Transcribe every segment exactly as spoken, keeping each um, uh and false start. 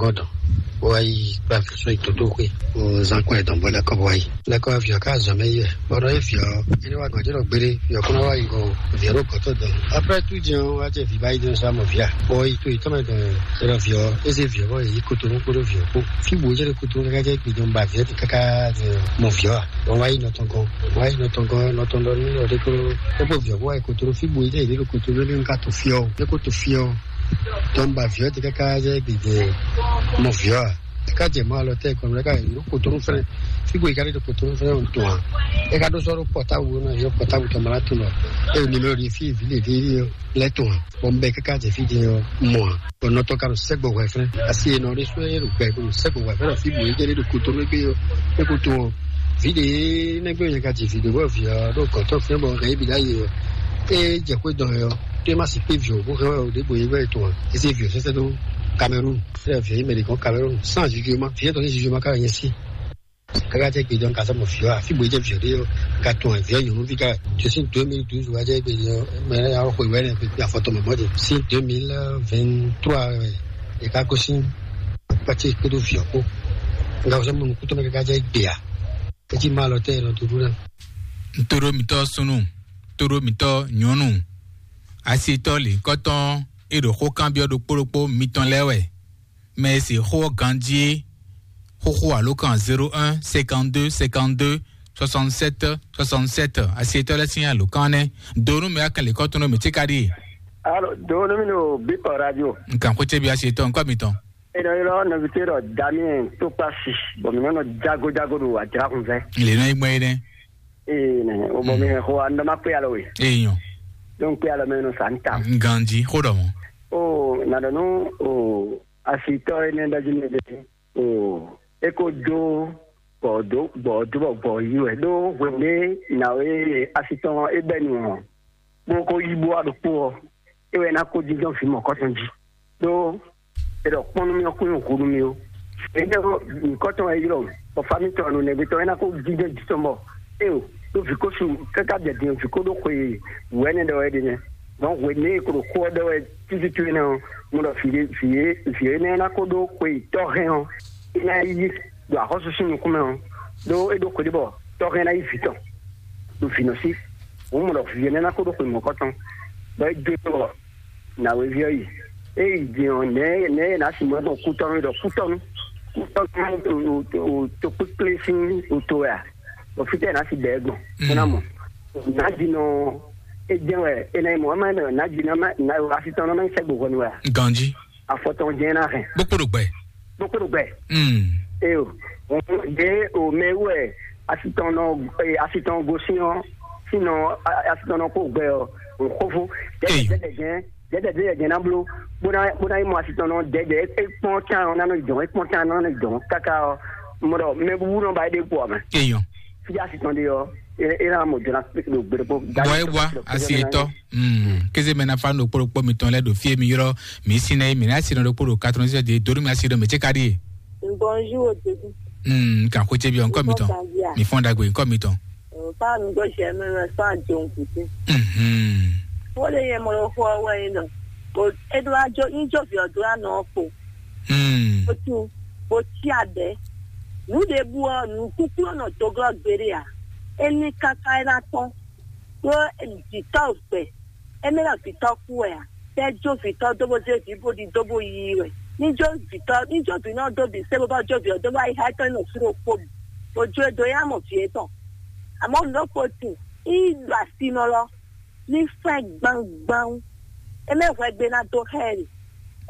Ɔdɔn, wá yi gba fífún yi tótó xwé, o zan kɔn ɛ dɔn bɔ lɛkɔ wá yi. Lɛkɔ vǐ ɔ́ ká zɔn mɛ yi wɛ, bɔ nɔ é vǐ ɔ́, é ní wá gɔn jɛ ɖɔ gbére, vǐ ɔ́ kó ná wá yi gɔn, vǐ ɔ́ ɖo gɔ̌tɔ́ dɔn. Après tout jɛn ɔ́, wá jɛ vǐ bá yi dɔn sá mɔ vǐ a? Bɔ yi to yi tɔn mɛ dɔn, é ɖɔ vǐ ɔ́, é zé vǐ ɔ́ bɔ yě yi kotonu kpódó vǐ ɔ́ kpó. Fí bǔ é jɛ ɖo kotonu káká jɛ gbe dɔn ba vǐ ɔ́ ti káká mɔ vǐ ɔ́ a? Bɔ wá yi nɔ tɔn gɔn, wá yi nɔ tɔn gɔn, nɔ tɔn ɖɔ nú nɔ ɖé kpódó, é kpó vǐ ɔ́ kó wá yi kotonu. Fí bǔ é jɛ yě ɖo kotonu, é ní ka to fí ɔ́, é kó to fí ɔ́. Tɔn ba vǐ ɔ́ ti káká jɛ gbe jɛ mɔ vǐ ɔ́ a? É ká jɛ mɔ alɔ tɛ kɔn, é ká yi ɖo kotonu fɛnɛ. Fí bó yi ká ɖe ɖo kotonu fɛnɛ ɔn tɔn a? É ká ɖó sɔ́ ɖó pɔtábu ɔ́ ná yɔ pɔtábu tɔn mɛ ná tunɔ. É ɖo nimero ɖi fí vǐ lě ɖé ɔ́ lɛ́ tɔn a? Bɔ un bɛ káká jɛ fí din ɔ́ mɔ a? Bɔ nɔ tɔn ka ɖo sɛ́gbɔ hwɛ fɛnɛ. Asi e nɔ ɖé sú é ɖo gbɛ ɖo sɛ́gbɔ hwɛ fɛnɛ fí bó yi jɛ ɖe ɖo kotonu égbé ɔ́, é ko tɔn ɔ́. Vǐ ɖé nɛgbɛ nya ka ji vǐ ɖé bɔ vǐ ɔ́ ɖo gɔ̌tɔ́ fɛnɛ bɔ hɛn é bǐ ɖ'ayǐ ɔ́. É jɛ xwé dɔn ɛ ɔ́, tó é má sixú kpé vǐ ɔ́ bó hɛn wɛ ɔ ɖěbǔ é wɛ tɔn ǎ. É zé vǐ ɔ́ sɛ́sɛ́ dó Cameroun, fɛ́ vǐ ɔ́ yi mɛ ɖě gɔ́n Cameroun, sans jugement, vǐ ɔ́ tɔn sín jugement ká wɛ nyɛ sí. Káká jẹ́ gbe dɔn ka sɔ́ mɔ vǐ ɔ́, ǎ, fí bó é jẹ́ vǐ ɔ́ ɖé ɔ́, ka tɔn ɛ, vǐ ɔ́ nyɔ̌nuví ká wɛ. Tó sín deux mille douze wá jẹ́ gbe dɔn, mɛ ɔ́ xwe wɛ nɛ kpekpe afɔ tɔn mɛ mɔ̌ din. Sín deux mille vingt-trois wɛ è ká gosín kpácé kpódó vǐ ɔ́ kpó. Nga xɔ sɔ́ mɔ nukúntɔ́ mɛ káká jẹ́ gbe ǎ. É cí má lɔ tɛ́ è nɔ dúdú ná. Ntodó mitɔ́ súnnu, tóɖó mitɔ́ nyɔ̌nu, asitɔ́ lǐnkɔ́tɔn e ɖo xó kanbyɔ́ ɖokpó ɖokpó mitɔn lɛ́ɛ wɛ. Mɛ e se xó ɔ́ ganjí é, xóxó alǒkan zéro un cinquante-deux cinquante-deux soixante-sept soixante-sept, asitɔ́ lɛ́ɛ sín alǒkan nɛ́. Do nú mɛ akɛn lǐnkɔ́tɔn nú mǐ cíká ɖíe. Alo, do nú mì ɖo Bíkɔ Radio. Nkan xwé cébi asitɔ́ ŋkɔ mitɔn. Eno ylɔ́ nɔvítɔ́ ɖɔ Damien Tokpasi, bɔ mǐ nɔ nɔ jago jago ɖo ajǎxunvɛ́. Lě nɔ yi gbɔn é nɛ́. Ee, nɛ, o bɔ mi hɛn xo an dɔ ma kpé alɔ we. Ee nyɔ. Donc kpé alɔ mɛ nɔ sa n ta. Ganji xó ɖɔ mɔ. O na ɖɔ nú o asitɔ énɛ́ ɖɔ jí mi ɖe o e ko dó gbɔ dó gbɔ dó bɔ gbɔ yi wɛ ɖó hwenu e na o e asitɔ e bɛ nu ɔ bó ko yi bó wa ɖokpó ɔ e wɛ na ko jínjɔ́n vǐ mɔ̌kɔtɔn jí. Ɖó è ɖɔ kpɔ́n nú mì ɔ́ kún nyi hǔ nú mì ó. È ɖɔ nyǐkɔ tɔn wɛ ylɔ́, bɔ fá mǐtɔn nɔ nɛgbé tɔn é ná kó jínjɔ́n jǐ tɔn bɔ éo ɖó vǐ ko su káká jɛ din vǐ ko ɖó xwe wǔ ɛnɛ ɖɔ wɛ ɖe nɛ́. Dɔn hwenu e è ko ɖo xó ɔ́ ɖɔ wɛ tútútú énɛ́ ɔ́, mo ɖɔ vǐ ɖé vǐ é vǐ énɛ́ ná kó ɖó xwe tɔ́ hɛn ɔ́, é ná yí ɖo axɔ́súsú nukúnmɛ ɔ́, ɖó é ɖó xwe ɖé bɔ tɔ́ hɛn ná yí vǐ tɔn ɖo vǐ nɔ sí. Hǔn mo ɖɔ vǐ énɛ́ ná kó ɖó xwe mɔ̌kɔ tɔn, bɔ é dó bɔ nǎwéví ɔ́ yi. É yi din ɔ́, nɛ̌ nɛ̌ è nǎ sixú mɔ gbɔn kútɔ́nú ɖɔ kútɔ́nú kútɔ́nú tokpékplé sín oto wɛ a? Bɔ fítɛ́ è nǎ si bɛ̌ gbɔn bó ná mɔ. Nǎjinɔ é jɛ́n wɛ é ná nyí mɔ̌, é má nyí mɛ nǎjinɔ má asitɔ́nɔ má nyí sɛ́gbo hwɛnu wɛ a? Ganjí. Afɔ tɔn jɛ́n ná hɛn. Bó kpo ɖo gbɛ. Bó kpo ɖo gbɛ. Mm. Eyo, ɖě o mɛ wú wɛ asitɔn nɔ asitɔn gosín ɔ́, sínɔ asitɔn nɔ kó gbɛ ɔ́, xófó. Eyo. Dɛdɛ jɛn dɛdɛ dɛdɛ jɛn ná bló bó ná bó ná yi mɔ asitɔn nɔ dɛdɛ é kpɔn can ɔ́ ná nɔ jɔn é kpɔn can ná nɔ jɔn káká ɔ́, mɔ ɖɔ mɛ búbú nɔ ba é ɖe kpɔ mɛ. Eyɔn. Fíjá asitɔn ɖe ɔ́, é é ná mɔ jɔn ná ɖo gbére kpó. Bɔ é wá asi etɔ. Mm. Kéze mɛ na fa ɖokpó ɖokpó mitɔn lɛ ɖo fie mi ylɔ mi si nɛ mi na si nɔ ɖokpó ɖo katɔn sɛ de donu mi asi ɖo mi tse ka ɖi. Bonjour, Ododou. Mm. Kan xo tse bi ɔnkɔ mitɔn. Mi fɔn dagbe ɔnkɔ mitɔn. Fa mi gbɔ sɛ mi mɛ fa jɔn kuti. Mhm. Wo le yɛ mɔ xɔ wɛ yin nɔ. Ko edo ajo yin jo vi odo anɔ ko. Mm. Ko tu ko ti adɛ. Nu de bu ɔ nu kuku nɔ doglɔ gbere a. Eni kaka ena tɔn. Ɖó vǐtɔ́ gbɛ, émí ná vǐtɔ́ kú wɛ a? Tɛ́ jó vǐtɔ́ dó bó zé vǐ bó ɖi dó bó yí wɛ. Ní jó vǐtɔ́ ní jó vǐ nɔ dó bǐ sé bó bá jó vǐ ɔ́ dó bá yi xá étɔn nɔ fí ɖokpó. Bó jó e dó yá mɔ vǐ étɔn. Àmọ́ nǔ ɖokpó tin, ní yi ɖo asinɔ lɔ, ní fɛ́ gbangban. Émí hwɛ gbe ná dó xá ɛ.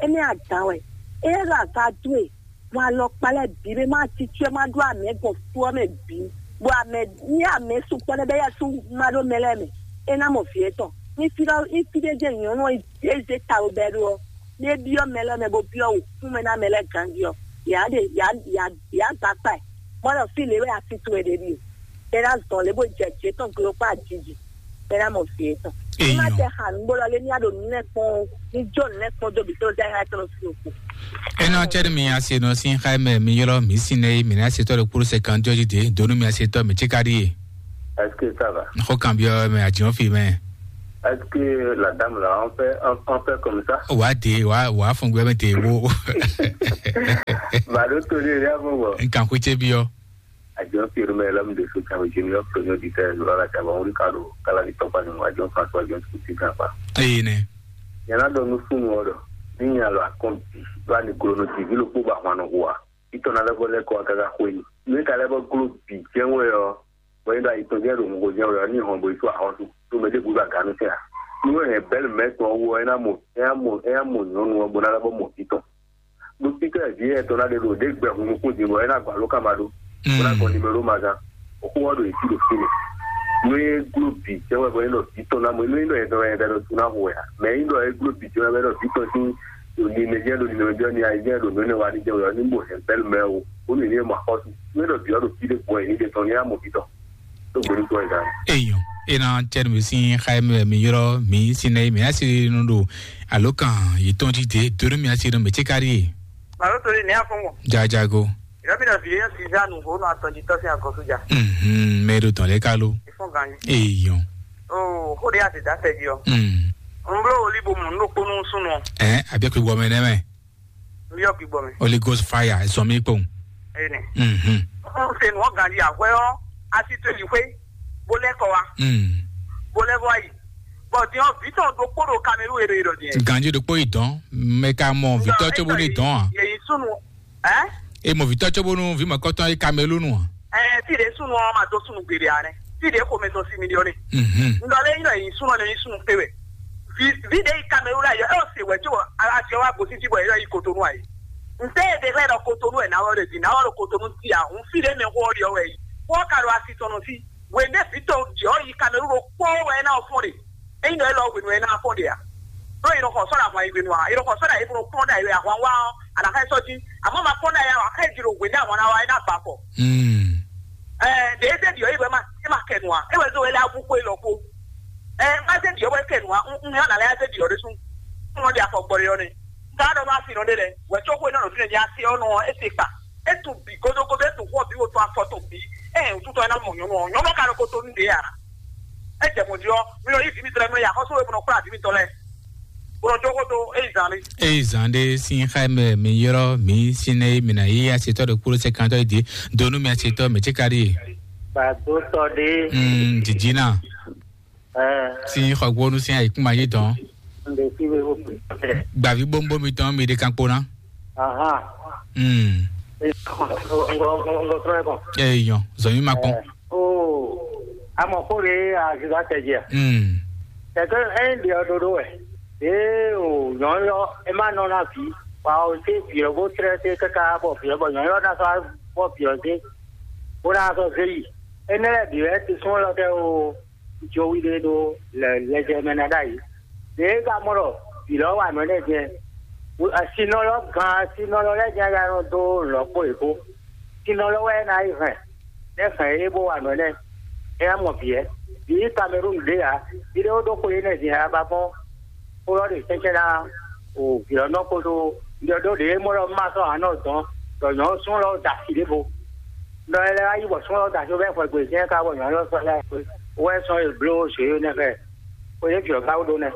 Émí adǎn wɛ. É ɖo aga dó e. Bɔ alɔkpa lɛ́ɛ bǐ ɖé má titú ɛ má ɖó amɛ gbɔn fú ɔ́ mɛ bǐ, bɔ amɛ ní amɛ sukpɔ́ lɛ́ɛ bɛ́ yɛ́ sú má ɖó mɛ lɛ́ɛ mɛ, é ná mɔ vǐ étɔn. Ní fí ɖɔ ní fí ɖé jɛ nyɔ̌nu ɔ́ é zé ta ɖo bɛ́ ɖó ɔ́, ní é byɔ́ mɛ lɛ́ɛ mɛ bó byɔ́ wǔkúnmɛ ná mɛ lɛ́ɛ ganjí ɔ́, yǎ ɖe yǎ yǎ yǎ gba kpa ɛ, bɔ ɖɔ fí lě wɛ asi towe ɖe ɖíe, é ná zɔn lě bó jɛ jǐ étɔn glo kpó ajiji, é ná mɔ vǐ étɔn. Ní má tɛ xa nǔgbó lɔ lé ní á ɖo nǔ lɛ́ɛ kpɔ́n ó, ní jó nǔ lɛ́ɛ kpɔ́n dó bǐ tó zá é ná tɔ́n sín òkú. Ena cɛɖi mi asi nɔ sin xa mɛ mi ylɔ mi sin ne mi na se tɔ ɖo kpuru se kan jɔji de donu mi asi tɔ mi tsi ka ɖi ye. Est-ce que ça va? Xɔ kan biɔ mɛ adzɔn fi mɛ. Est-ce que la dame là on fait on, on fait comme ça? Wa de wa wa fun gbɛ mɛ de wo. Tó tó lé lé avɔ bɔ. Nkan xwé ce byɔ́. Àjọ fi orúmọ ẹlẹ́mu ɖe so tàwọn ìṣe ní ọ̀pọ̀ ní òdìtẹ́ ìlú ọ̀la tàwọn orí kàló kálá ní tọ́pá ní wọn àjọ fún àtọ́ àjọ tó ti gàn pa. Eye nɛ. Yàrá dɔ nú fún wọn dɔ ní yàn lọ àkọ́ǹtì bá ní glo nù tìbí ló kpó bá hwan nù hùwà. Ìtọ́nà lẹ́bọ̀ lẹ́kọ̀ọ́ àgàgà xwé ni. Ní kálẹ́bọ̀ glo bì jẹ́wọ́ ẹ̀ ọ́. Bɔn yin ɖo ayi tɔn jɛ́n ɖo hungo jɛ́n wɛ ɔ́, ní hɔn bo yi tó ahɔ́sú, tó mɛ ɖěbǔ ɖo aga nú fɛ́ ǎ. Nú hɛn bɛ́lú mɛ tɔn ɔ́ wú ɔ́, é ná mɔ é ná mɔ é ná mɔ nyɔ̌nu ɔ́ bó ná lɛ́ bɔ mɔ vǐ tɔn. Ɖó títɔ́ vǐ yɛn tɔn ná ɖe ɖo ɖě gbɛ hun nukún din bɔ é ná gba ló ká ma ɖó. Bó ná gɔn nimero ma gán. Xó ɔ́ ɖo yě sí ɖo fínɛ́. Nú é gló bǐ jɛ́n wɛ bɔ é nɔ vǐ tɔn ná mɔ nú é nɔ yɛn tɔn yɛn ɖɔ sú ná hu wɛ ǎ. Mɛ é nɔ é gló bǐ jɛ́n wɛ bɔ é nɔ vǐ tɔn sín ɖo nimɛ jɛ́n ɖo nimɛ jɛ́n ni ayé jɛ́n ɖo nǔ énɛ́ wa ní jɛ́n wɛ ɔ́, ní mɔ hɛn bɛ́lú mɛ ɔ́, bónú yě ní mɔ axɔ́sú. Nú é nɔ bǐ ɔ́ ɖo fí ɖé gbɔn yě ní ɖe tɔn ní é ná mɔ vǐ tɔn. Tó gbóni tó ɛ gán. Eyɔn, ena tɛnu mi sin xayɛ mi wɛ mi yrɔ mi sin nɛ mi asi nu ɖo alo kan yi tɔn ti de donu mi asi nu mi tsi kari ye. Màlúù tó lé ní afúnwọ̀. Jajago. Ìrọ́bí náà fi yéèyàn sí Zanu kó nù àtọ̀jítọ́ sí àkọ́sójà. Mhm, mɛ ɖo tɔn lɛ kalo. Ìfún gan yìí. Eyɔn. O, ó de àti dá tẹ̀dí ọ. Mm. N bló olí bo mù nínú kpónú súnú. Ɛ, àbí kò wɔ mɛ nɛ mɛ. N bí ọ̀gbìn gbọ́ mi. Holy Ghost fire, ẹ sọ mí kpɔn. Ẹni. Mhm. N ṣe nù ọ́ gan yìí àwẹ́ ọ́, a ti tó èyí pé, bó lẹ́kọ̀ọ́ wa, Mm. bó lẹ́kọ̀ọ́ wa yìí. Bọ̀ dín ọ́, bí tọ̀ dó kpódò Cameroon èrò èrò dín. Ganji ɖokpó yi dɔn, mɛ ka mɔ vitɔ tso bo ne dɔn a. Yẹ̀yìn súnú. Ẹ́? E mɔ vitɔ tso bo nu vi mɔ kɔtɔn yi Cameroon a. Ɛ, fi ɖe súnú ɔ́ ma dó súnú gbeɖe ǎ nɛ́. Fi ɖe xomɛ tɔn sí mi ɖi ɔ́ nɛ́. Mhm. Ŋdɔ lé nyí nɔ yi súnú ɔ́ nɛ nyí súnú kpé wɛ. Vi vi ɖe yi Cameroon la yɔ, ɛ o se wɛ tso Asie wa gosín jí bɔ yɛ yi Kotonu ayi. Ntɛ e ɖe xlɛ ɖɔ Kotonu wɛ nawɔ ɖe di, nawɔ ɖo Kotonu ti a, hun fi ɖe mɛ xɔ ɖi ɔ wɛ yi. Xɔ ka ɖo asi tɔn nɔ sí. Wɛ ɖe vi tɔn jɛ ɔ yi Cameroon ɖo kpɔ wɛ na ɔ fɔn ɖe. Eyi nɔ elɔ hwenu ɛ na fɔn ɖe a. Ɖo yi nɔ xɔ sɔ ɖe ahwan yi hwenu a, yi nɔ xɔ sɔ ɖe ayi bɔ kpɔn ɖe ayi wɛ ahwan wa ɔ, ana xɛ sɔ jí. Amɔ ma kpɔn ɖe ayi a, xɛ ji ɖo hwenu ahwan na wa e na ba kɔ. Mm. Ɛ, ɖe e zé ɖi ɔ, e wɛ ma, e ma kɛ nu a, e wɛ zé wɛ lɛ abu ko e lɔ ko. Ɛ, ma zé ɖi ɔ wɛ kɛ nu a, un un yɔ na lɛ zé ɖi ɔ ɖe sun. Un nɔ ɖi afɔ gbɔ ɖe ɔ nɛ. Nka ɖɔ ma fi nɔ ɖe lɛ, wɛ tso ko e nɔ nɔ fi nɛ ɖi asi ɔ nɔ e se kpa. E tu bi godogodo, e tu xɔ bi, wo tu afɔ to bi. Ɛ, o tutɔ e na mɔ nyɔnu ɔ, nyɔnu ka ɖo ko to nu ɖe a. E jɛ mɔ di ɔ, mi nɔ yi vi mi tlɛ mi nɔ yi axɔsu e mi nɔ kplá vi mi tɔ lɛ. Bó nɔ jó xó dó, eyi zan mi. Eyi zan ɖe sin xa mɛ mi yrɔ mi sin ne mi na yi asetɔ ɖo kpolo se kantɔ yi di donu mi asetɔ mi tsi ka ɖi. Gbàdútɔ ɖe. Mm, jijina. Ɛ. Sin xɔgbónu sin ayikuma yi dɔn. N ɖe fi we ko. Gbavi bombo mi tɔn mi ɖe kan kpona. Aha. Mm. Ngo ngo ngo ngo trɔ ko. Eyi yɔn, zɔn mi ma kpɔn. Ɛ. Oo, amɔ xó ɖe aziza tɛjɛ. Mm. Kɛkɛ ɛyin ɖe ɔ ɖoɖo wɛ. Ee o, nyɔ̌nyɔ, e ma nɔ na vǐ, bɔ a o se vǐ ɔ́ bó tlɛ́ te káká bɔ vǐ ɔ́ bɔ nyɔ̌nyɔ ná sɔ́ bɔ vǐ ɔ́ zé, bó ná sɔ́ zé yi. Énɛ́ lɛ́ɛ bǐ wɛ tisún élɔ́ kɛ o, jowi ɖé ɖó lɛjɛ mɛ ná ɖ'ayǐ. Ɖě e ka mɔ ɖɔ vǐ lɔ́ wa nǔ énɛ́ jɛ, sinɔ lɔ́ gan sinɔ lɔ́ lɛ́ɛ jɛ ya nɔ dó lɔ̌ kpó yě kpó. Sinɔ lɔ́ wɛ é ná yi hɛn, nɛ́ hɛn é bó wa nǔ énɛ́, é ná mɔ vǐ ɛ. Vǐ Kamerúnu ɖě ǎ, vǐ ɖé ó ɖó xwe énɛ́ din ǎ, ba gbɔn xó ɔ́ ɖe sɛ́nsɛ́n ná o vǐ ɔ́ nɔ kpódó ɖɔ ɖó ɖě é mɔ ɖɔ má sɔ́ ǎ nɔ dɔn ɖɔ nyɔ̌nu súnnu lɔ da asi ɖěvo. Nɔ ɛ lɛ́ wá yi bɔ súnnu lɔ da asi bɔ é xwɛ gbe jɛ́n ká bɔ nyɔ̌nu lɔ sɔ́ lɛ́ wɛ sɔ́ e bló zě nɛ́ xɛ xwe yě vǐ ɔ́ ká wú ɖó nɛ́.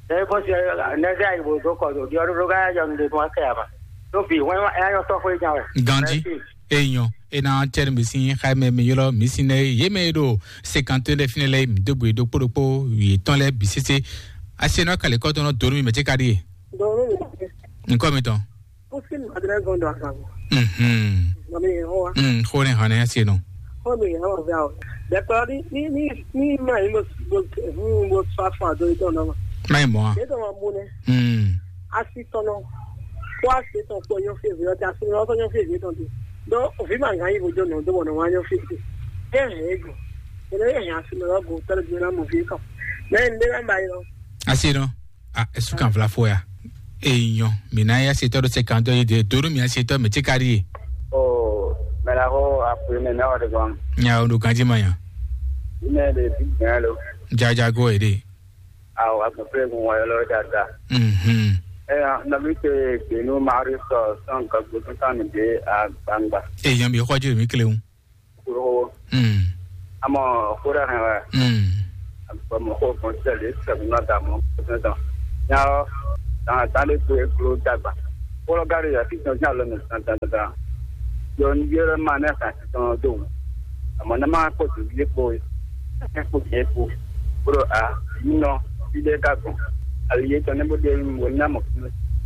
Ɛ é fɔ́n si nɛ́ zɛ ayi bó dó kɔ ɖo ɖiɔ́ ɖó ká yá jɔ nu ɖe tɔn wá kɛ ǎ ma. Ɖó vǐ hwɛ́n wá é ná nyɔ́ sɔ́ xwé nya wɛ. Ganji. Eyɔn, ena tɛnu mi sin xayɛ mɛ mi ylɔ mi sin nɛ ye mɛ ɖo sekante lɛ fínɛ lɛ mi dó gbe ɖokpó ɖokpó yětɔn lɛ bǐ sésé. Asi nɔ kale kɔtɔn nɔ donu mi mɛ tse ka ɖie. Donu mi. Nkɔ mi tɔn. Pusi mi adrɛ gɔn do akan. Mhm. Mami ho wa. Mm, xo ne hane asi nɔ. Xo mi ho wa vɛ o. Dɛkɔ ni ni ni ni ma yi mo mo mo fa fa do to nɔ. Mai mo. Ye to ma bu ne. Mm. Asi tɔnɔ kó asi tɔn kpɔ nyɔ fie vi ɔtí asi nɔ tɔ nyɔ fie vi tɔn ti. Dɔ ovi ma ŋa yi vojo nɔ do wɔnɔ wa nyɔ fie ti. Ɛ hɛ ego. Ene ye hɛ asi nɔ go tɛlɛ bi na mo vi tɔn. Mɛ n de na ba yi lɔ. Asi nɔ. A esu kan vla fo ya. Eyɔn, mi na ya setɔ do sekantɔ yi de donu mi asetɔ mi tsi kari ye. O mɛ la ko aƒe mɛ na wa de gɔn. Nya o do kanji ma nya. Ime de bi gbɛn lo. Jaja go e de. Awo agbɛnflɛ́gun wayɔlɔ dada. Mhm. Eya nɔbi te gbenu mari sɔ sɔn gagbo sɔn mi de agbangba. Eyan bi xɔju mi kle un. Kuro. Mm. Amɔ xura hɛn wa. Mm. Agbɔmɔ ko kɔn sɛlɛ sɛlɛ na da mɔ sɛn dɔn. Nya ɔ dan dan de gbe klo dagba. Kolo gari ya ti sɔn nya lɔ mi dan dan dan. Ɖɔ nú ví ɔ́ ma nɛ́ xan tɔn ɔ́ dó wǔ. Amɔ̌ ná má kpɔ́ dǒví é kpo é, é kpo jɛ é kpo, bó ɖɔ a, vǐ nɔ, fí ɖé ka gbɔn. Ali yětɔn nɛ́ bó ɖe wú bó ná mɔ fí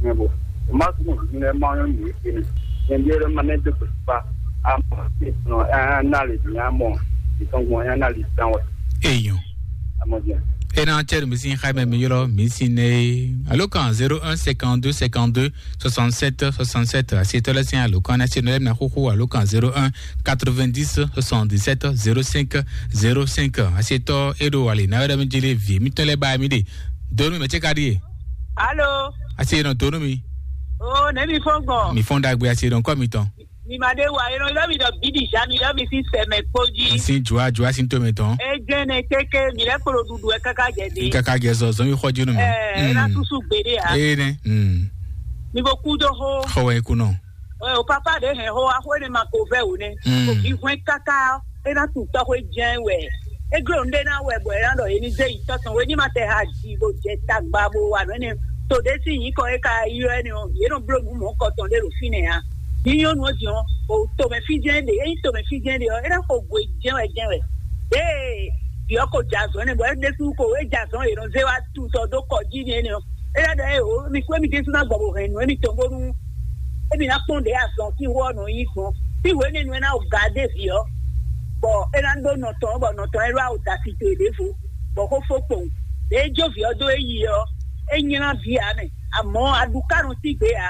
mɛ bó. Má sú mɔ vǐ lɛ́ɛ má nyɔ́ nǔ é nɛ. Nyɛ ví ɔ́ ma nɛ́ dó gbe fá. Amɔ̌ é nɔ é ná lě dǐn amɔ̌. Ìtɔn gbɔn é ná lě dán wɛ. Eyɔn. Amɔ̌ jɛ. Ena cɛri mi sin xaimɛ mi yɔrɔ mi sin ne. Alo kan zéro un cinquante-deux cinquante-deux soixante-sept soixante-sept. Asi tɔlɛ sin alo kan na sin ne na xuxu alo kan zéro un quatre-vingt-dix soixante-dix-sept zéro cinq zéro cinq. Asi tɔ eɖo wali na wɛrɛ mi jeli vi mi tɔlɛ ba mi de. Donu mi mɛ cɛ ka di ye. Alo. Asi nɔ donu mi. O ne mi fɔn gbɔn. Mi fɔn dagbe asi nɔ kɔ mi tɔn. Mi ma ɖe wa, e nɔ ylɔ́ mi ɖɔ bíɖi zǎ, mi ylɔ́ mi sín sɛmɛ kpó jí. Sín jua jua sín to mɛ tɔn. E jɛ́n nɛ kéké, mi lɛ́ kplɔ́ ɖuɖu wɛ káká jɛ dé. Káká jɛ zɔ zɔn mi xɔ jinu mi. Ɛɛ, e na susu gbeɖé a. Ee nɛ. Mm. Mi bo kú dó xó. Xɔ wɛ kunɔ. Ɛ, o papa ɖe hɛn xó wa xó ne ma ko vɛ o nɛ. Mm. Ko vi hwɛn káká, e na tu tɔxwé jɛn wɛ. E gló nu ɖé na wɛ bɔ e na ɖɔ e ní zé yi tɔtɔn wɛ ní ma tɛ ha ji bo jɛ tagba bo wa nɔ ne. To ɖé sín nyǐkɔ e ka ylɔ́ ɛ nɛ ɔ́, yě nɔ bló nǔ mɔ̌kɔtɔn ɖé ɖo fínɛ́ ǎ. Nyí nyɔ́nu ɔ́ din ɔ́, o tomɛ fí jɛ́n ɖe, ényí tomɛ fí jɛ́n ɖe ɔ́, é ná xo gwe jɛ́n wɛ jɛ́n wɛ. Ɖěe vǐ ɔ́ ko jɛ azɔ̌ nɛ́ bɔ é ɖésú ko é jɛ azɔ̌ e nɔ zé wá tutɔ dó kɔ jí n'i énɛ́ ɔ́, é ná ɖɔ ée o, émi kú émi ɖésú ná gbɔ bó hɛn nǔ émitɔn bónú émi ná kpɔ́n ɖě azɔn sín xó ɔ́ nɔ nyí gbɔn. Fí hwenu énɛ́ nu é ná ga dó vǐ ɔ́, bɔ é ná ɖó nɔ tɔn ɔ́, bɔ nɔ tɔn ɔ́ é ɖó awo da tito e ɖěvo, bɔ xó fó kpowun. Ɖě é jó vǐ ɔ́ dó é yi ɔ́, é nylá vǐ ǎ mɛ. Amɔ̌ aɖukánu sín gbě ǎ.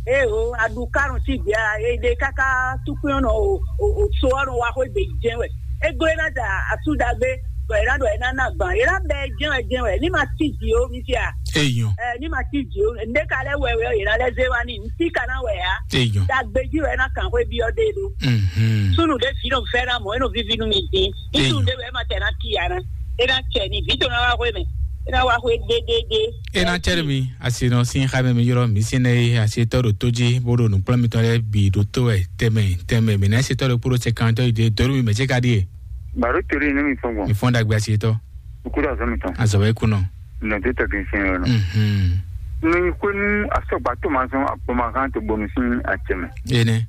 Ée o, aɖukánu sín gbě ǎ. E ɖe káká túkpín ɔ́ nɔ o, o, o so ɔ́ nɔ wá xwé gbe jɛ́n wɛ. É gló ná da asú ɖagbe, bɔ è nǎ ɖɔ è nǎ ná gbǎn. È nǎ bɛ jɛ́n wɛ jɛ́n wɛ. Ní ma cí jǐ ó, mi fia. Eyɔn. Ɛ, ní ma cí jǐ ó. Nɖé ka lɛ́ wɛ wɛ ɔ́, è nǎ lɛ́ zé wá n'i. Nǔ tí ka ná wɛ ǎ. Eyɔn. Ɖagbe jí wɛ é ná kàn xwé byɔ́ ɖe ɖó. Mhm. Súnnu ɖé vǐ nɔ vɛ́ ná mɔ̌, é nɔ víví nú mi dín. Ní Eyɔn. Súnnu ɖé wɛ é ma tɛ ná cí ǎ ná. É ná cɛ ni vǐ tɔn ná wá xwé mɛ. É ná wá xwé ɖéɖéɖé. É ná cɛ mi asi nɔ sín xá mɛ mi ylɔ́ mi sín nɛ e asi tɔ́ ɖo tó jí bó ɖo nǔkplɔ́n mitɔn lɛ́ɛ bǐ ɖo tó wɛ tɛnmɛ tɛnmɛ mǐ ná asi tɔ́ ɖo kpóɖó cɛ kan tɔ́ yi dó mi mɛ cé ka ɖíe. Baro tori ne mi fɔn gbɔn. Mi fɔn dagbe asi tɔ. Kukuɖo azɔ mi tɔn. Azɔ wɛ kunɔ. Nɔ tó tɛgɛ sɛn yɔ nɔ. Mhm. Nɔ yi xwenu asɔgba tó ma zɔn akpɔma kan tó bɔnu sín acɛ mɛ. Ene.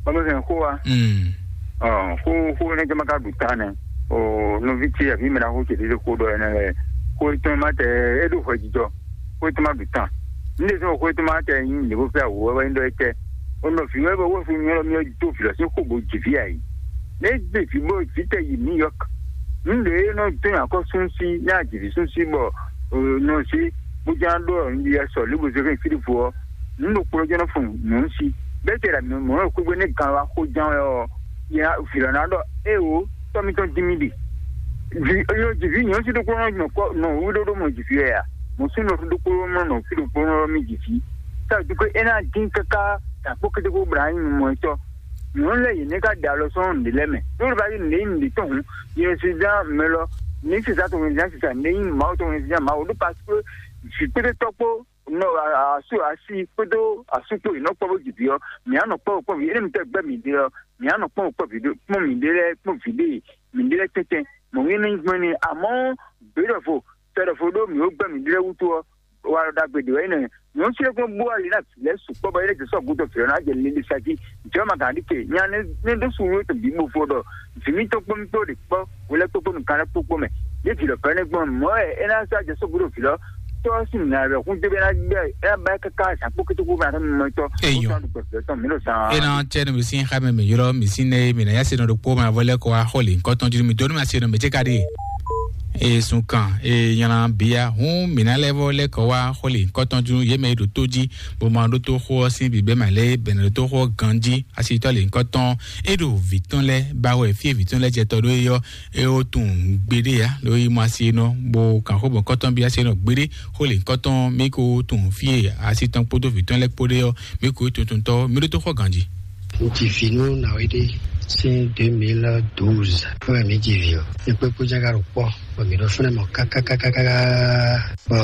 Bɔnu sɛn xó wa. Mm. Ɔ xó xó ne jama ka ɖu ta nɛ. O nɔvi ce àbí mɛ na xó ce ɖe xó ɖɔ ɛnɛ lɛ. Xó etɔn ma tɛ e ɖo hwɛ jijɔ. Xó etɔn ma ɖu ta. N ɖe sɔn xó etɔn ma tɛ nyi ne ko fɛ awu wɛ wɛ n ɖɔ etɛ. O nɔ fi wɛ bɛ wɔ fi nyɔ mi do fi lɔ si xó bo dzi fi ayi. Ne gbe fi bo fi tɛ yi New York. N ɖe nɔ tɔn akɔ sunsi ne a dzi fi sunsi bɔ nɔ si bo jan ɖɔ n ɖi sɔ libo zeke fi fo ɔ. N ɖo kplɔ jɔ nɔ fun nɔ si. Bɛ tɛ la mi mɔ nɔ kugbe ne gan wa xó jan wɛ ɔ. Ya fi lɔ na ɖɔ e o tɔ mi tɔn di mi di. Vi yo dzi fi nyɔ si ɖo kplɔ nɔ kɔ nɔ wu ɖo ɖo mɔ dzi fi ya. Mo si nɔ ɖo kplɔ mɔ nɔ fi ɖo kplɔ nɔ mi dzi fi. Sa du ko e na din kaka ta kpɔ kete ko bra nyi mɔ tɔ. Nyɔnu lɛ yi ne ka da alɔ sɔn nɖe lɛ mɛ. Ɖo ba yi nɖe yi nɖe tɔn hun. Yɛn si dan mɛ lɔ. Ni si sa to wɛn si sa nɖe yi ma to wɛn si ma o ɖo parce que si kpete tɔkpo nɔ asu asi kpódó asu kpó yi nɔ kpɔ bó dzi vi ɔ. Mi anɔ kpɔ kpɔ vi ene mi tɛ gbɛ mi ɖe ɔ. Mi anɔ kpɔ kpɔ vi ɖe kpɔ mi ɖe lɛ kpɔ vi ɖe mi ɖe lɛ tɛtɛ. Mɔ mi ne gbɛn ni amɔ gbɛɖɔfo tɛɖɔfo ɖo mi wo gbɛ mi ɖe lɛ wutu ɔ. Wa ɖo ɖagbe ɖe wɛ yi nɛ nyɔnu si ɖe kpɔ bó ali na vi lɛ sukpɔ bɔ yi ɖe jɛ sɔ gutɔ fi ɔ na jɛ lili sa ji. Jɔn ma gǎn ɖi ke nya ne ne ɖo su wo to bi bo fo ɖɔ vi mi tɔn kpɔ́n kpó ɖe kpɔ́ wòlɛ kpókpó nukàn lɛ kpókpó mɛ. Ye vi lɔ fɛnɛ gbɔn mɔ ɛ ena sa jɛ sɔgbe ɖo vi lɔ tɔ si na bɛ kun tebe na bɛ ena ba kaka sa kpó kété kó na tɔ mɔ tɔ. Eyɔ. Ena cɛ ne misi xa mɛ mi yɔrɔ misi ne mi na ya se nɔ ɖo kpó ma vɔ lɛ kɔ wa xɔli nkɔtɔn jiri mi donu ma se nɔ mi tse ka di. E sun kan e nyana bia hun mi na lɛ vɔ lɛ kɔ wa xɔli nkɔtɔn jiri ye mɛ ɖo tó ji bó ma ɖó tó xó ɔ sín bibɛ ma lɛ bɛnɛ ɖó tó xó ɔ ganji. Asitɔ le ŋkɔ tɔn e ɖo vǐ tɔn lɛ ba wɛ fie vǐ tɔn lɛ jɛ tɔ ɖó eyɔ e o tun gbeɖe ya ɖo yi mɔ asi nɔ bo kan xó bɔ ŋkɔ tɔn bi asi nɔ gbeɖe xó le ŋkɔ tɔn mi ko tun fie asi tɔn kpódó vǐ tɔn lɛ kpóɖé ɔ mi ko tun tun tɔ mi ɖó tó xɔ ganji. Ŋutsi fi nú nawéɖé sín deux mille douze fún mi jí vi ɔ. Ekpé kpó jága ɖo kpɔ bɔ mi ɖo fúnɛ mɔ kákákákáká bɔ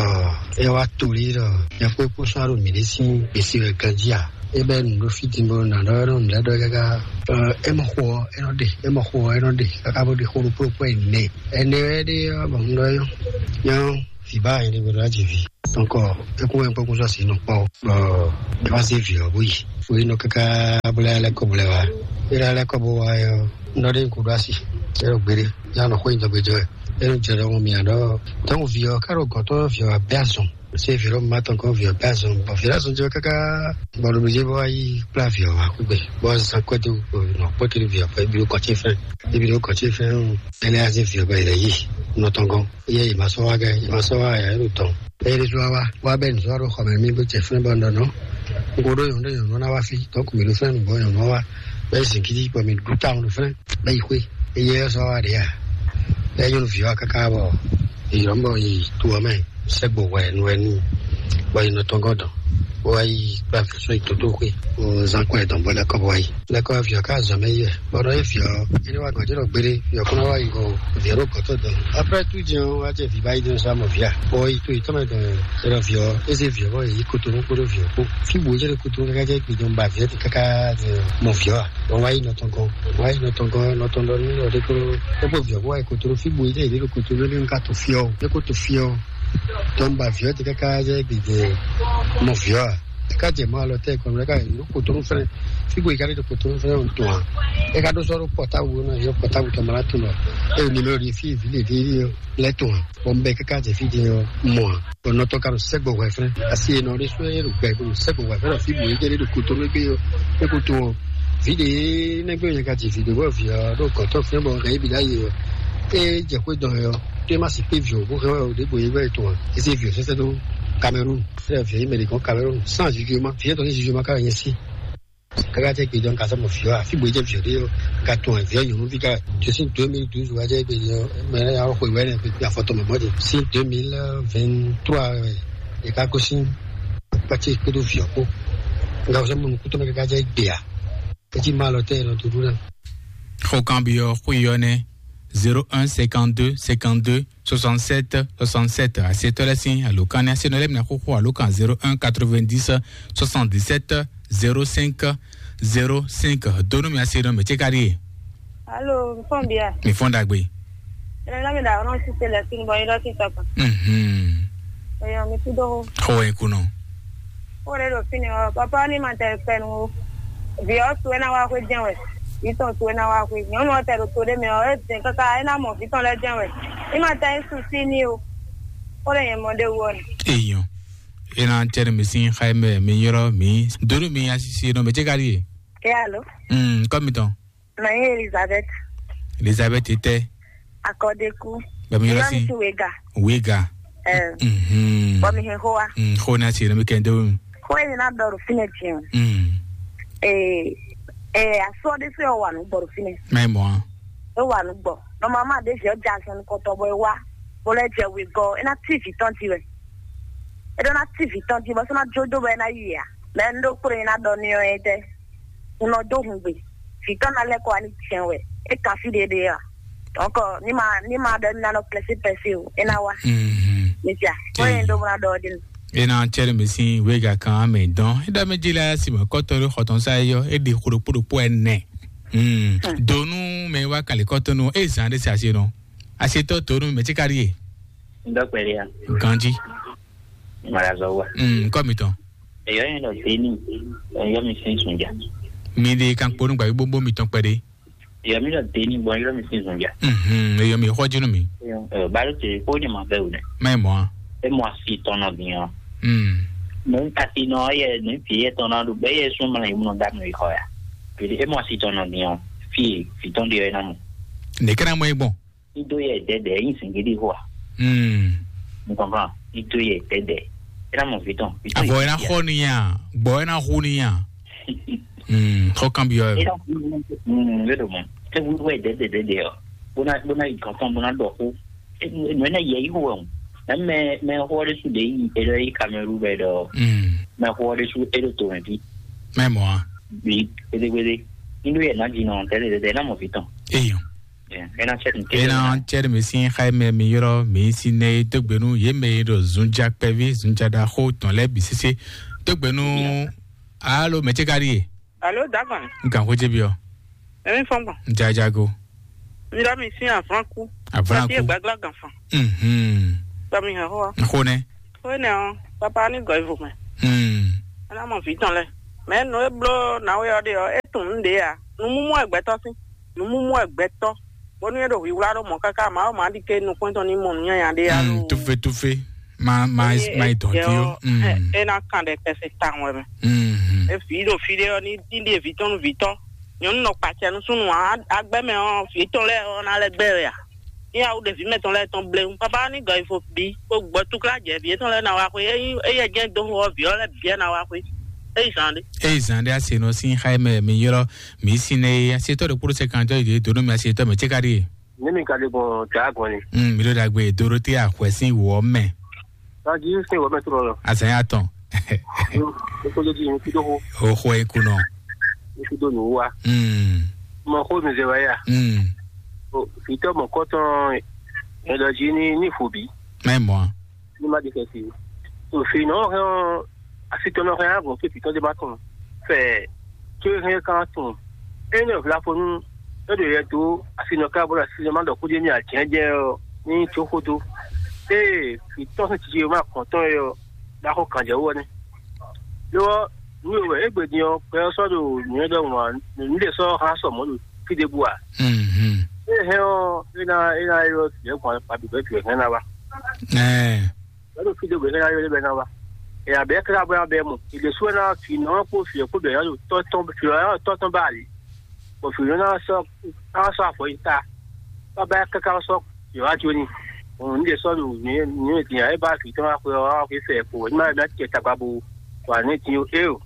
e wá toli ɖɔ ekpé kpó sɔ́ ɖo mi ɖé sín gbèsè wɛ ganji a. Ebe nu ɖo fi din bo na ɖɔ nɔ nɖɛ ɖɔ kaka. Ɛ, e mɔ xo ɔ, e nɔ ɖe, e mɔ xo ɔ, e nɔ ɖe kaka bo ɖe xo ɖokpó ɖokpó ɛnɛ. Ɛnɛ wɛ ɖe ɔ bɔ un ɖɔ yɔ. Nyɔ Vǐ ba yě ɖé bó ɖó aji vǐ. Donc, é kún wɛ kpɔ́kún sɔ́ sí nɔ kpɔ́. Bɔ é wá sí vǐ ɔ́ bó yi. Fo yi nɔ káká bó lɛ́ lɛ́ kɔ bó lɛ́ wá. É lɛ́ lɛ́ kɔ bó wá ɔ́, un ɖɔ ɖé un ko ɖó asi. É ɖo gbeɖé. Yá nɔ xó nyi dɔgbe jɔ wɛ. É nɔ jɛ ɖɔhun mì aɖɔ. Tɔ́hún vǐ ɔ́, ká ɖo gɔ̌n tɔn vǐ ɔ́ wá bɛ́ azɔn. Sé vǐ ɖo má tɔn kɔn vǐ ɔ́ bɛ́ azɔn. Bɔ vǐ ɖo azɔn jɔ káká. Bɔ ɖo mì jɛ bó wá yi kplá vǐ ɔ́ wá kú gbe. Bɔ zan kɔ́ dó nɔ kpɔ́ kiri vǐ ɔ́ fɛ. Ebi ɖo kɔ́ ce fɛn. Ebi ɖo kɔ́ ce fɛn. Ɛnɛ azé vǐ ɔ́ bɛ yɛ yi. Nɔ tɔn gɔn. Iye yi ma sɔ́ wá gɛ, yi ma sɔ́ wá ya, yi ɖo tɔn. Eye ɖésú wá wá, wá bɛ nǔ sɔ́ ɖo xɔ mɛ mì bó jɛ fɛ́n bɔ un ɖɔ nɔ. Un ko ɖó nyɔ̌nu ɖé nyɔ̌nu ná wá fí, donc mǐ ɖo fɛ́n nǔgbó nyɔ̌nu ɔ́ wá. Bɛ yi zǐngídi bɔ mǐ ɖu tawun ɖo fɛ́n, bɛ yi xwé. Eye ɔ́ sɔ́ wá ɖě a? Bɛ nyɔ̌nu vǐ wá káká bɔ yi yɔ̌n bɔ yi to ɔ́ mɛ, sɛ́gbo hwɛ nu wɛ n'i, bɔ yi nɔ tɔn gɔ́ dɔn, bó wá yi kplá vǐ sɔ́ yi tótó xwé, bó zán kɔn ɛ dɔn bó lɛ́ kɔ bó wá yi. Lɛ́ kɔ vǐ ɔ́ ká zɔn mɛ yi wɛ. Bɔ nɔ e vǐ ɔ́, é ní wá gɔ̌ jɛ ɖɔ gbére, vǐ ɔ́ kún ná wá yi go vǐ ɔ́ ɖo gɔ̌ tɔn dɔn. Après tout din ɔ́, wá jɛ vǐ ba yi din sɔ́ mɔ vǐ a? Bɔ yi to yi tɔn mɛ dɔn, é ɖɔ vǐ ɔ́, é zé vǐ ɔ́ bɔ yě yi kotonu kpódó vǐ ɔ́ kpó. Fí bǔ é jɛ ɖo kotonu káká jɛ gbe dɔn ba vǐ ɔ́ ti káká mɔ vǐ ɔ́ a? Bɔ wá yi nɔ tɔn gɔ́n, wá yi nɔ tɔn gɔ́n, nɔ tɔn ɖɔ nú ɔ ɖé kó é kpó vǐ ɔ́ kó wá yi kotonu. Fí bǔ é jɛ yě ɖo kotonu é ɖo ká to fí ɔ́, é kó to fí ɔ́. Tɔn ba vǐ ɔ́ ti káká jɛ gbe jɛ mɔ vǐ ɔ́ a? É ká jɛ mɔ alɔ tɛ kɔn lɛ ká yi ɖo kotonu fɛnɛ. Fí bó yi ká ɖo kotonu fɛnɛ ɔn tɔn a? É ká ɖó sɔ́ ɖó pɔtábu ná yɔ pɔtábu tɔn mala tɔn lɔ. É ɖo nimero ɖi fí vǐ ɖe ɖi lɛ tɔn a? Bɔ un bɛ káká jɛ fí din ɔ́ mɔ a? Bɔ nɔ tɔn ka ɖo sɛgbɔ hwɛ fɛnɛ. Asi e nɔ ɖe sɔ é ɖo gbɛ ɖo sɛgbɔ hwɛ fɛnɛ fí bó yi jɛ ɖo kotonu gbé ɔ́. É ko to ɔ́. Vǐ ɖe nɛgbɛ yɛ ka ji vǐ ɖe bɔ vǐ ɔ́ ɖo gɔ̌tɔn fɛnɛ bɔ hɛn yi bi ɖ'ayǐ ɔ́. É jɛ xwé dɔn ɛ ɔ́. Tó é má si kpé vǐ ɔ́ bó hɛn wɛ ɖěbǔ é wɛ tɔn a? É zé vǐ ɔ́ sɛsɛ dó Cameroun. Fɛ́ vǐ mɛ ɖě gɔ́n Cameroun sans jugement. Fí tɔn ní jugement ká nyɛ sí. Káká tɛ gbé dɔn ka sɔmɔ fí ɔ́, fí bó jɛ vǐ ɔ́ ɖé ɔ́, ka tɔn vǐ ɔ́ nyɔ̌nu ví ká. Tó sín deux mille douze wá jẹ́ gbé ɔ́, mɛ ɔ́ xwe wɛ nɛ gbé afɔtɔ mɛ mɔdé. Sín deux mille vingt-trois wɛ é ká gosín pati kpódó vǐ ɔ́ kpó. Nga sɔmɔ nukúntɔ́ mɛ káká jẹ́ gbé a? É cí má lɔ tɛ nɔ tó ɖu ná. Xó kanbyɔ́ xó yi ɔ́ nɛ́: zéro un cinquante-deux cinquante-deux soixante-sept soixante-sept. Asetɔ́ lɛ́ɛ sín alǒkan ní asenɔ lɛ́ɛ mina xóxó alǒkan zéro un quatre-vingt-dix soixante-dix-sept zéro cinq zéro cinq. Donu mi asenɔ mɛ ce ka ɖie. Alo, mi fɔn bia? Mi fɔn ɖagbe. Ene na mi da ɔnɔ si se lɛ sin bɔ yi lɔ si tɔkpa. Mhm. Eyo mi tu do. Xó wɛ kunɔ. Ó lè ɖo fínɛ́ ɔ́, papa ní ma tɛ fɛnu o. Vǐ ɔ́ su é ná wá xwé jɛ́n wɛ. Vǐ tɔn su é ná wá xwé. Nyɔ̌nu ɔ́ tɛ ɖo to ɖé mɛ ɔ́, é dɛn káká é ná mɔ vǐ tɔn lɛ́ɛ jɛ́n wɛ. Ní ma tɛ é su sí ní o. Ó lè nyɛ mɔ ɖé wú ɔ́ nɛ. Èèyàn, é ná jẹ́ ní mi sín xá mɛ mi yrɔ́ mi. Donu mi asisi nɔ mɛ jẹ́ ká ɖíe. Ké alo? Mm, kọ́ mi tán. Mɛ nyí Elizabeth. Elizabeth tɛ. Akɔdeku. Bɛmi yɔrɔ si. Wega. Wega. Eh. Mhm. Bɔ mi hɛn xó wa. Mm, xó na si, mi kɛ n dewun. Xó ye na dɔ ɖo fínɛ tiɲɛ. Mm. Eh, eh, asɔ de se wa nu gbɔ ɖo fínɛ. Mɛ mɔ. E wa nu gbɔ. Normalement de je ja sɔn kɔtɔ bɔ e wa. Bo lɛ jɛ wegɔ, e na ti vi tɔn ti wɛ. E ɖo na ti vi tɔn ti bɔ sɔ na jo do bɔ e na yi ya. Mɛ n ɖo kplɔn e na dɔ ni ɔ ye tɛ. Un nɔ dó hungbe. Vǐ tɔn ná lɛ́ kɔ wá ní jɛ́n wɛ. É kan fí ɖéɖé a? Donc, ní ma, ní ma ɖɔ ní ná nɔ pɛsí pɛsí o, é ná wá. Mhm. Misia, wọ́n yẹn dó múná dɔɔ dín. É ná cɛ́rɛ mi sín wéga kan amɛ dɔn. É ɖɔ mɛ jí la si mɔ kɔtɔ ɖo xɔtɔn sa yɔ, é ɖi xo ɖokpó ɖokpó ɛnɛ. Mm. Donu mɛ wá kàlí kɔtɔnu, é zan ɖé se asi nɔ. Asetɔ donu mɛ tí kárí yé. N dɔ pɛlɛ ya. Ganji. Mara zɔ wa. Mm, kɔ mi tɔn. Eyɔ yẹn dɔ teni. Eyɔ mi sin sunja. Mi de kan kponu gba gbogbo mi tɔn pɛde. Eyɔ mi dɔ teni bɔ eyɔ mi sin sunja. Mhm, eyɔ mi xɔ jinu mi. Ɛ balo te ko ni ma bɛ wulɛ. Mɛ mɔ. E mɔ asi tɔn nɔ bi yan. Mm. Mɛ kasi nɔ yɛ ne fi yɛ tɔn na do bɛ yɛ sun mana yi mu da mi xɔ ya. Bi e mɔ asi tɔn nɔ bi yan. Fi fi tɔn de yɛ na mo. Ne kana mɔ igbɔn. Ido yɛ dɛdɛ yin singidi hoa. Hmm. N kɔnkan ido yɛ dɛdɛ. Ena mɔ vitɔn. Avɔ ena xɔ niya, gbɔ ena xu niya. Hmm, xɔ kan biɔ. Ena xu niya. Hmm, vedo mo. Te wu wɛ dɛdɛ dɛdɛ ɔ. Bona bona yi kankan bona dɔ xu. Nɔ ena yɛ yi xu wɛ o. Mɛ mɛ xɔ de su de yi eɖɔ yi Kamerun bɛ dɔ. Hmm. Mɛ xɔ de su eɖo to mɛ bi. Mɛ mɔ a. Bi gbede gbede. Ido yɛ na di nɔ tɛdɛ dɛdɛ ena mɔ vitɔn. Eyo. Ena cɛɖi mi sín xá mɛ mi yrɔ mi si nɛ dógbenu yé mɛ yi ɖo zunja kpɛvi zunja ɖaxó tɔn lɛ bi sese dógbenu. Alo mɛ ce ka ɖi ye. Alo dagan. N kan xó ce bi ɔ. Emi fɔn gbɔn. Jajago. N dɔ mi sín avlanku. Avlanku. Gbagla gan fan. Mhm. Tɔmi hɛn xó ɔ́. Xó nɛ́. Xó énɛ́ ɔ́, papa ní gɔ̌ ivo mɛ. Hmm. É ná mɔ vǐ tɔn lɛ́ɛ. Mɛ nǔ e bló nǎwe ɔ́ ɖe ɔ́, é tunwun nǔ ɖě ǎ. Nǔmúmú wɛ gbɛtɔ́ sín. Nǔmúmú wɛ gbɛtɔ́. Bónú é ɖo hwíhwlá ɖó mɔ̌ káká, Mawu má ɖi ké nukún tɔn ní mɔ nǔ nyanya ɖé ǎ. Hmm, loo. Túfe túfe. Ma ma Eye ma yi dɔn éjɛ tí ó. Ɔ́, Hmm. É ná kan ɖɛ kɛse tawun wɛ mɛ. Hmm. E vǐ ɖo fí ɖé ɔ́, ní ní ɖe vǐ tɔn nú vǐ tɔn. Nyɔ̌nu nɔ kpacɛ nú súnnu ǎ, agbɛ́ mɛ ɔ́, vǐ tɔn lɛ́ɛ ɔ́ ná lɛ́ gbɛ wɛ ǎ. Ní awu ɖe vǐ mɛtɔn lɛ́ɛ tɔn bléwún. Papa ní gɔ ifo bǐ, kó gbɔ túklá jɛ vǐ étɔn lɛ́ɛ ná wá xwé. Ényí éyɛ jɛ́n dó xo ɔ́, vǐ ɔ́ lɛ́ bǐ ná wá xwé. Éyí zǎn ɖé. Eye zan ɖe ase nɔ sin xa mɛ mi ylɔ mi si ne ye ase tɔ ɖe kpɔɖo sɛ kan tɔ yi do nɔ mi ase tɔ mɛ tse ka ɖi ye. Ne mi ka ɖe gbɔn dra gbɔn ni. Hmm, mi ɖo ɖagbe Dorothea xwɛ sin wɔ mɛ. Taji sin wɔ mɛ trɔ lɔ. Azan ya tɔn. Yo, ko do ji mi kudo ho. O xwɛ kunɔ. Mi kudo nu wa. Hmm. Mɔ ko mi zɛ wa ya. Hmm. O fitɔ mɔ kɔtɔn. Ɛdɔ ji ni ni fo bi. Mɛ mɔ. Ní má ɖi xɛsi. Òfin nɔ hɛn ɔ́, asitɔnɔ hɛn á gɔn fí fǐtɔ́ dé má tɔn fɛ tó e hɛn kan tɔn. Ényí nɔ vlafonu é ɖo yɛ dó asinɔ ká bó ɖo asinɔ má ɖɔ kúdé ní ajɛ̌jɛ ɔ́ ní tó xódó. Ée fǐtɔ́ sín cici e má kɔn tɔn é ɔ́, ɖaxó kan jɛ wú ɔ́ nɛ́. Lo ɔ́, nǔ e wɛ égbé din ɔ́, gbɛ ɔ́ sɔ́ ɖo nǔnywɛ́ ɖɔhun ǎ, nǔ ɖé sɔ́ hán sɔ mɔ̌ ɖo fí ɖěbǔ ǎ. Mhm. É hɛn ɔ́, é ná é ná ylɔ́ vǐ ɔ́ gbɔn abǐ bɛ́ vǐ ɔ́ hɛn ná wá. Ɛɛ. Bɛ́ ɖo fí ɖé gbe é ná ylɔ́ bɛ́ ná wá. Ɛ abǐ ɔ́ káká bó ná bɛ́ mɔ. È ɖě sú ɛ ná fi nɔ ɔ́ kpó vǐ ɔ́ kpó bɛ̌ ná ɖo tɔ́ tɔn fi ɔ́ tɔ́ tɔn bá ali. Bɔ vǐ ɔ́ ná sɔ́ ná sɔ́ afɔ yi ta. Bá bá káká sɔ́ vǐ ɔ́ wá jó ni. Òun ní ɖe sɔ́ ɖo nǔ nǔ e din ǎ, é bá vǐ tɔn wá xwe ɔ́ wá xwe fɛ kpo. Ní má ná tiɛ tagba bo wa ní din ó. É o.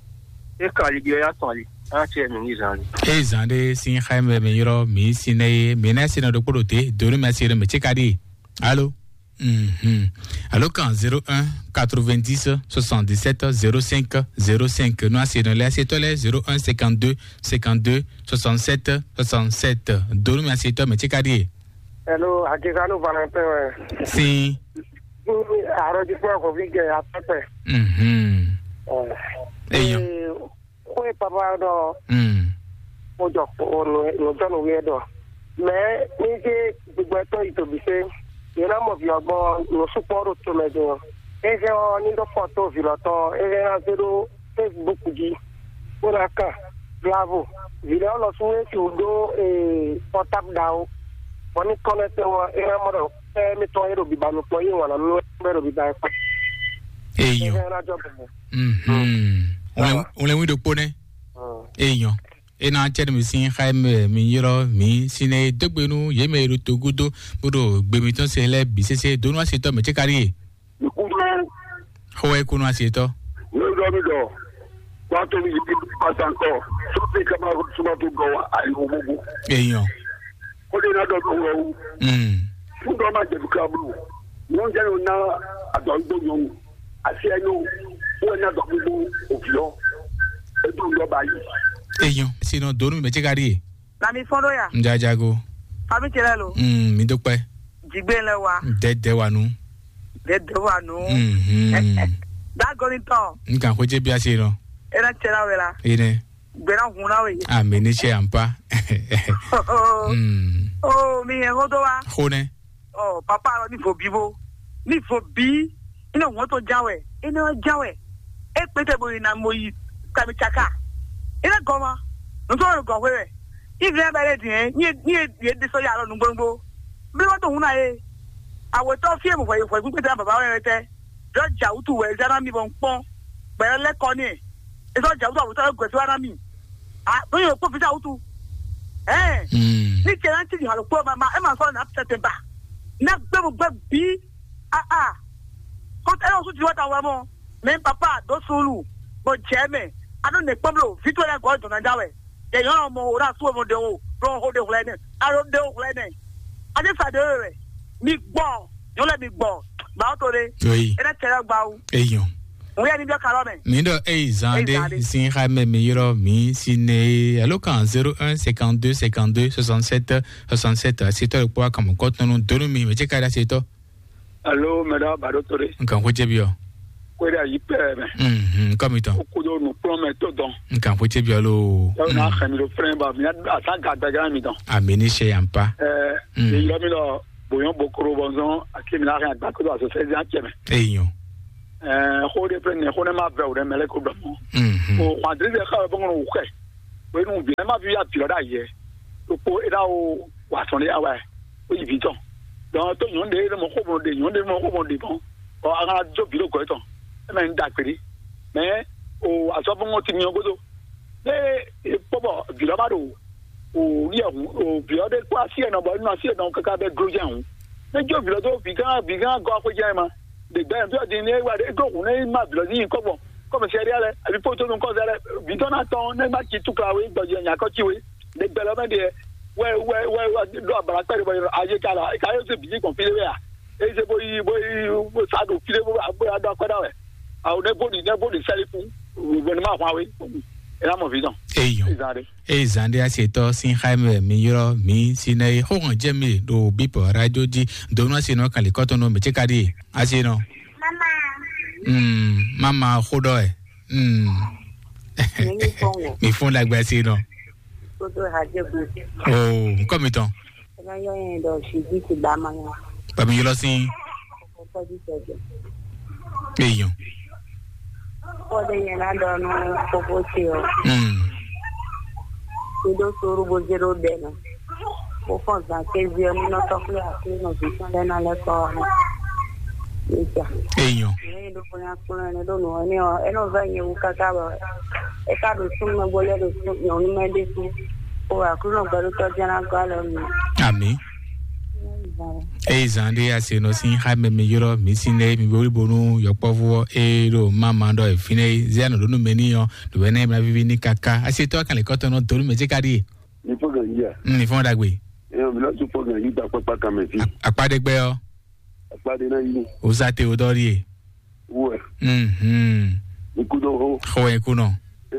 É kan ali ɖi ɔ́ yá tɔn ali. Á tiɛ nǔ ní zan ali. Eye zan ɖé sín xá mɛ mi ylɔ́ mǐ sin nɛ é, mǐ ná sin nɔ ɖokpó ɖo te, do nú mɛ sin nɔ mɛ tse ka ɖi. Alo. Mhm. Alo kan zéro un quatre-vingt-dix soixante-dix-sept zéro cinq zéro cinq. Nú asi nɔ lɛ asi tɔ lɛ zéro un cinquante-deux cinquante-deux soixante-sept soixante-sept. Do nú mɛ asi tɔ mɛ tse ka ɖi. Hello, Akikanu Valentin wɛ. Sin. Arrondissement Kofi gɛ atɔpɛ. Mhm. Eyo. Xwe papa ɖɔ. Mm. Mo jɔ nùjɔnùwí ɛ ɖɔ. Mɛ ní ṣe gbogbo ẹtọ́ ìtòbí ṣe. Yẹn náà mọ̀ fi ọgbọ́n lọ súpọ́ ɖo tó mɛ jọ. Eze ɔ ní ɖɔ fɔto vǐlɔtɔ eze ná zé ɖó Facebook jí. Bó ná kàn bravo. Vǐlɛ ɔlɔ sún esi wò ɖó portable ɖa o. Bɔ ní kɔnɛtɛ wɔ é ná mɔ ɖɔ ɛ mi tɔn é ɖo biba nukpɔn yé wàn nú ɛ ɖo biba ɛ kpɔ. Eyo. Eze ná jɔ bẹ̀rẹ̀. Mhm. Wlɛn wlɛn wí ɖokpó nɛ. Eyɔn. Ena cɛ mi sin xa mɛ mi yrɔ mi sin ne dogbe nu ye mɛ ro to gudo bodo gbe mi tɔn se lɛ bi sese donu ase tɔ mɛ tse kari ye. Xɔ wɛ kunu ase tɔ. Ní ọjọ́ mi dọ̀, wá tó mi yìí pàṣẹ ńkọ, sọ́tì ká máa súnmọ́ tó gọ̀ wá àyẹ̀wò gbogbo. Eyɔn. Ó lè ná dọ̀ tó wẹ̀ o. Mm. Fún dọ́ máa jẹ̀bi ká bù. Wọ́n jẹ́ yóò ná àdọ̀ gbogbo yòówù. Àti ẹnu, wọ́n ná dọ̀ gbogbo òbí lọ. Ètò ìjọba yìí. Eyɔn. Sinɔ donu mɛ tse kari ye. Na mi fɔn ɖo ya. N jajago. Fami tse lɛ lo. Mm, mi dúpẹ́. Jigbe lɛ wa. Dɛdɛ wa nu. Dɛdɛ wa nu. Mhm. Dagoni tɔn. N kan xwedze bi ase nɔ. Ena tse la wɛ la. Ene. Gbɛna hun na we. Ami ni tse ampa. Mm. Oh, mi yɛ hodo wa. Xonɛ. Oh, papa lɔ ni vo bi bo. Ni vo bi. Ina ŋɔtɔ ja wɛ. Ina ja wɛ. E kpete bo ina mo yi kami tsaka. Ina gɔma. Ntɔ gɔ hwe wɛ. Ivi na bɛ le diɛ. Ni ni ye de so ya lɔ nugbo nugbo. Bí wọ́n tó hun náà yé. Àwòtọ́ fí èmù fọ̀yì fọ̀yì pípé tẹ́lá bàbá wẹ̀ tẹ́. Jọ jà wútu wẹ̀ zẹ́ náà mi bọ̀ ń pọ́n. Bẹ̀rẹ̀ lẹ́kọ̀ọ́ ni ẹ̀. Ẹ sọ jà wútu àwòtọ́ ẹ̀ gọ̀ẹ́sì wá náà mi. À lóyún òpó fi sáwùtú. Ẹ̀. Ní tiẹ̀ náà ti di hàn lóko ẹ̀ máa ẹ̀ máa sọ̀rọ̀ náà tẹ̀tẹ̀ bá. Ní agbẹ́mu gbẹ́ bí. Ah ah. Kó ẹ lọ sún ti wá ta wá mọ́. Mɛ papa ɖo sulu bɔ jɛ mɛ. Anu ne kpɔm lo fitɔ lɛ gɔ dɔn na da wɛ. Yɛ yɔn mɔ o na su mo de o. Bro ho de whlɛ ne. Alo de o whlɛ ne. Ade sa de wɛ. Mi gbɔ. Yɔn lɛ mi gbɔ. Ba o to de. Oui. E na tɛ lɛ gba o. Eyɔn. Ŋu yɛ ni bɛ kalɔ mɛ. Mi ɖɔ eyi zan Eyi zan ɖe de. Sin xa mɛ mi yrɔ mi si ne alo kan zéro un cinquante-deux cinquante-deux soixante-sept soixante-sept. Asitɔ ɖe kpɔ akamɔ kɔtɔnu donu mi mɛ tse ka ɖe asitɔ. Alo, mɛɖa Badotore. Nkan ko jɛ bi ɔ. Kweda yi pɛ mɛ. Mhm, kɔmi tɔn. Kodo nu kplɔn mɛ to dɔn. Nkan ko jɛ bi ɔ lo. Yɔ na xɛmi do frɛn ba mi asa ga daga mi dɔn. Ami ni se yan pa. Ɛ, Mm. Ye yɔ mi lɔ Oyɔn bokoro bɔ zɔn akimi la hɛn agba kodo aso sɛzi acɛ mɛ. Eyɔn. Ɛɛ, xo de pe ne xo ne ma vɛ o ne mɛ lɛ ko dɔ mɔ. Mhm. O xwan diri de xa bɔ ŋɔnɔ wukɛ. O enu bi ma bi ya bi lɔ da yɛ. O ko e da o wa sɔn de awa. O yi bi tɔn. Donc to nyɔn de ne mɔ xo mɔ de nyɔn de mɔ xo mɔ de mɔ. Ɔ a kana jo bi lo gɔ tɔn. E mɛ n da kpeli. Mais o azɔ bɔ ŋɔ ti mi o godo. Ne e kpɔ bɔ bi lɔ ma do o ní ɛhun o vǐ ɔ́ ɖe kpó así ɛnɔ bɔ é nɔ así ɛnɔ káká bɛ gló jɛ hǔn. Né jó vǐ ɔ́ dó vǐ gán vǐ gán gɔ́ xwé jɛ ma ɖe gbɛ vǐ ɔ́ din ní é wá ɖe é dó hǔn ní é má vǐ ɔ́ ní nyǐkɔ gbɔn kɔmɛsɛ́rí lɛ́ɛ ali fó tónú kɔ́zɛ lɛ́ɛ vǐ tɔn ná tɔn ní é má ci túkla wé gbɔjɛ nyakɔ ci wé ɖe gbɛ lɔ mɛ ɖe wɛ wɛ wɛ wɛ ɖo abala kpɛ ɖe bɔ ayé ka la é ka yóò zé bǐ gbɔn fí ɖé wɛ a é zé bó yi bó yi bó sa ɖo fí ɖé bó bó ya ɖó akwɛ́ ɖa wɛ awo ne bó ɖi ne bó ɖi sɛ́lí fún wɛ ní má hwan wé é ná mɔ vǐ tɔn. Eyɔn. Ìzan ɖé. Eye zan ɖé asetɔ sín xá mɛ mi ylɔ́ mǐ Sinɛyi xóxɔn jɛ mi ɖo bípɔ radio jí donu asenɔ kan lǐkɔtɔn nɔ mɛ cé ka ɖíe asenɔ. Mm, mama xó ɖɔ ɛ. Mm. Mi fɔn ɖagbe asenɔ. Kodo hajɛ gbe. Oo, nkɔ mi tɔn. Ena yɔ yɛn dɔ si di ti ba ma ya. Ba mi ylɔ́ sín. Kɔkɔji sɛjɛ. Eyɔn. Kɔde yɛn na dɔ nu koko ti o. Mm. Kudo suru bo zero bɛ na. Bo fɔn zan kezi ɔ nínú tɔkpé àti nɔ zǐn tɔn lɛ na lɛ kɔ ɔ. Nígbà. Eyɔn. Ní ìlú fún yà kúnlẹ̀ ní lónìí wọn ní ọ ẹ náà fẹ́ yẹn wú káká bọ̀ ẹ ká ló sún mọ́ bóyá ló sún yọ̀ọ́nú mẹ́dé sún. Kó àkúrò gbọ́dọ̀ tọ́jú ẹran kọ́ lọ nù. Àmì. Eye zan ɖé asenɔ sín xá mɛ mi ylɔ́ mǐ sín lɛ́ɛ mi wlí bónú yɔkpɔ́vú ɔ́ é ɖo má ma ɖɔ fínɛ́ é zé anɔ ɖó nú mɛ ní ɔ́ ɖo wɛ nɛ́ ma víví ní káká asetɔ kan lě kɔ́tɔn nɔ donu mɛ cé ka ɖíe. Ní fɔ́n gǎn yí a? Ní fɔ́n ɖagbe. Ẹ ɔ mi lɔ tún fɔ́n gǎn yí ta kpákpá kan mɛ fí. Akpa ɖe gbɛ ɔ́. Akpa ɖe ná yí. O sa te o dɔ ɖíe. Wɛ. Mhm. Ikú dɔ xó. Xó ikú nɔ.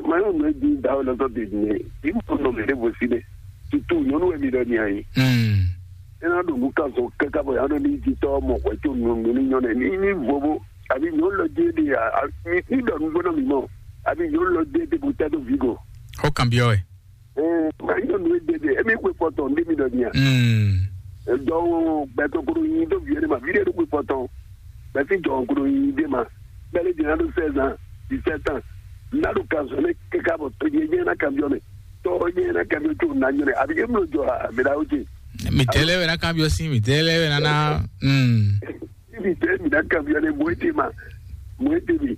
Mayɔ mɛ di da o lɔtɔ de ne. Imu nɔ mɛ ɖe bo si ne. Tutu nyɔnu wɛ mi ɖɔ ni ayi. Mm. Ena ɖo nu kan sɔn kaka bɔ ya ɖo ni ti tɔ mɔ xɔ tso nunu ni nyɔ nɛ ni ni vovo. Abi nyɔnu lɔ di de a a mi ni ɖɔ nu gbɔdɔ mi mɔ. Abi nyɔnu lɔ di de bo tɛ do vi go. Xó kan biɔ wɛ. Ɛɛ, ma nyɔnu e de de emi kpe fɔtɔ nde mi ɖɔ ni a. Mm. Dɔwɔ gbɛtɔ koɖo nyi do vi ɖe ma vi ɖe ɖo kpe fɔtɔ. Bɛsi jɔ koɖo nyi de ma. Bɛlɛ di na ɖo seize ans, dix-sept ans. Na ɖo kan sɔn ne kaka bɔ to je je na kan biɔ ne. Tɔ je na kan biɔ tso na nyɔ ne. Abi e mlo jɔ a mi da o je. Mi tɛ lɛ wɛ na kan biɔ si mi tɛ lɛ wɛ na na. Mm. Ibi tɛ mi na kan biɔ ne mo ete ma. Mo ete mi.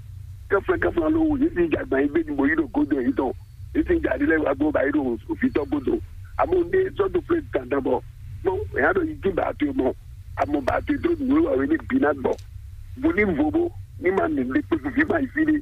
Kafla kafla lo wo yi si jagba yi be ni mo yi ɖo godo yi tɔn. Yi si jadi lɛ wa gbɔ ba yi ɖo ofitɔ godo. Amo ne sɔ do fle dandan bɔ. Mo ya ɖo yi ti ba to mɔ. Amo ba to do nu wa we ne bi na gbɔ. Bo ni vo bo ni ma ne le kpe fi ma yi fi de.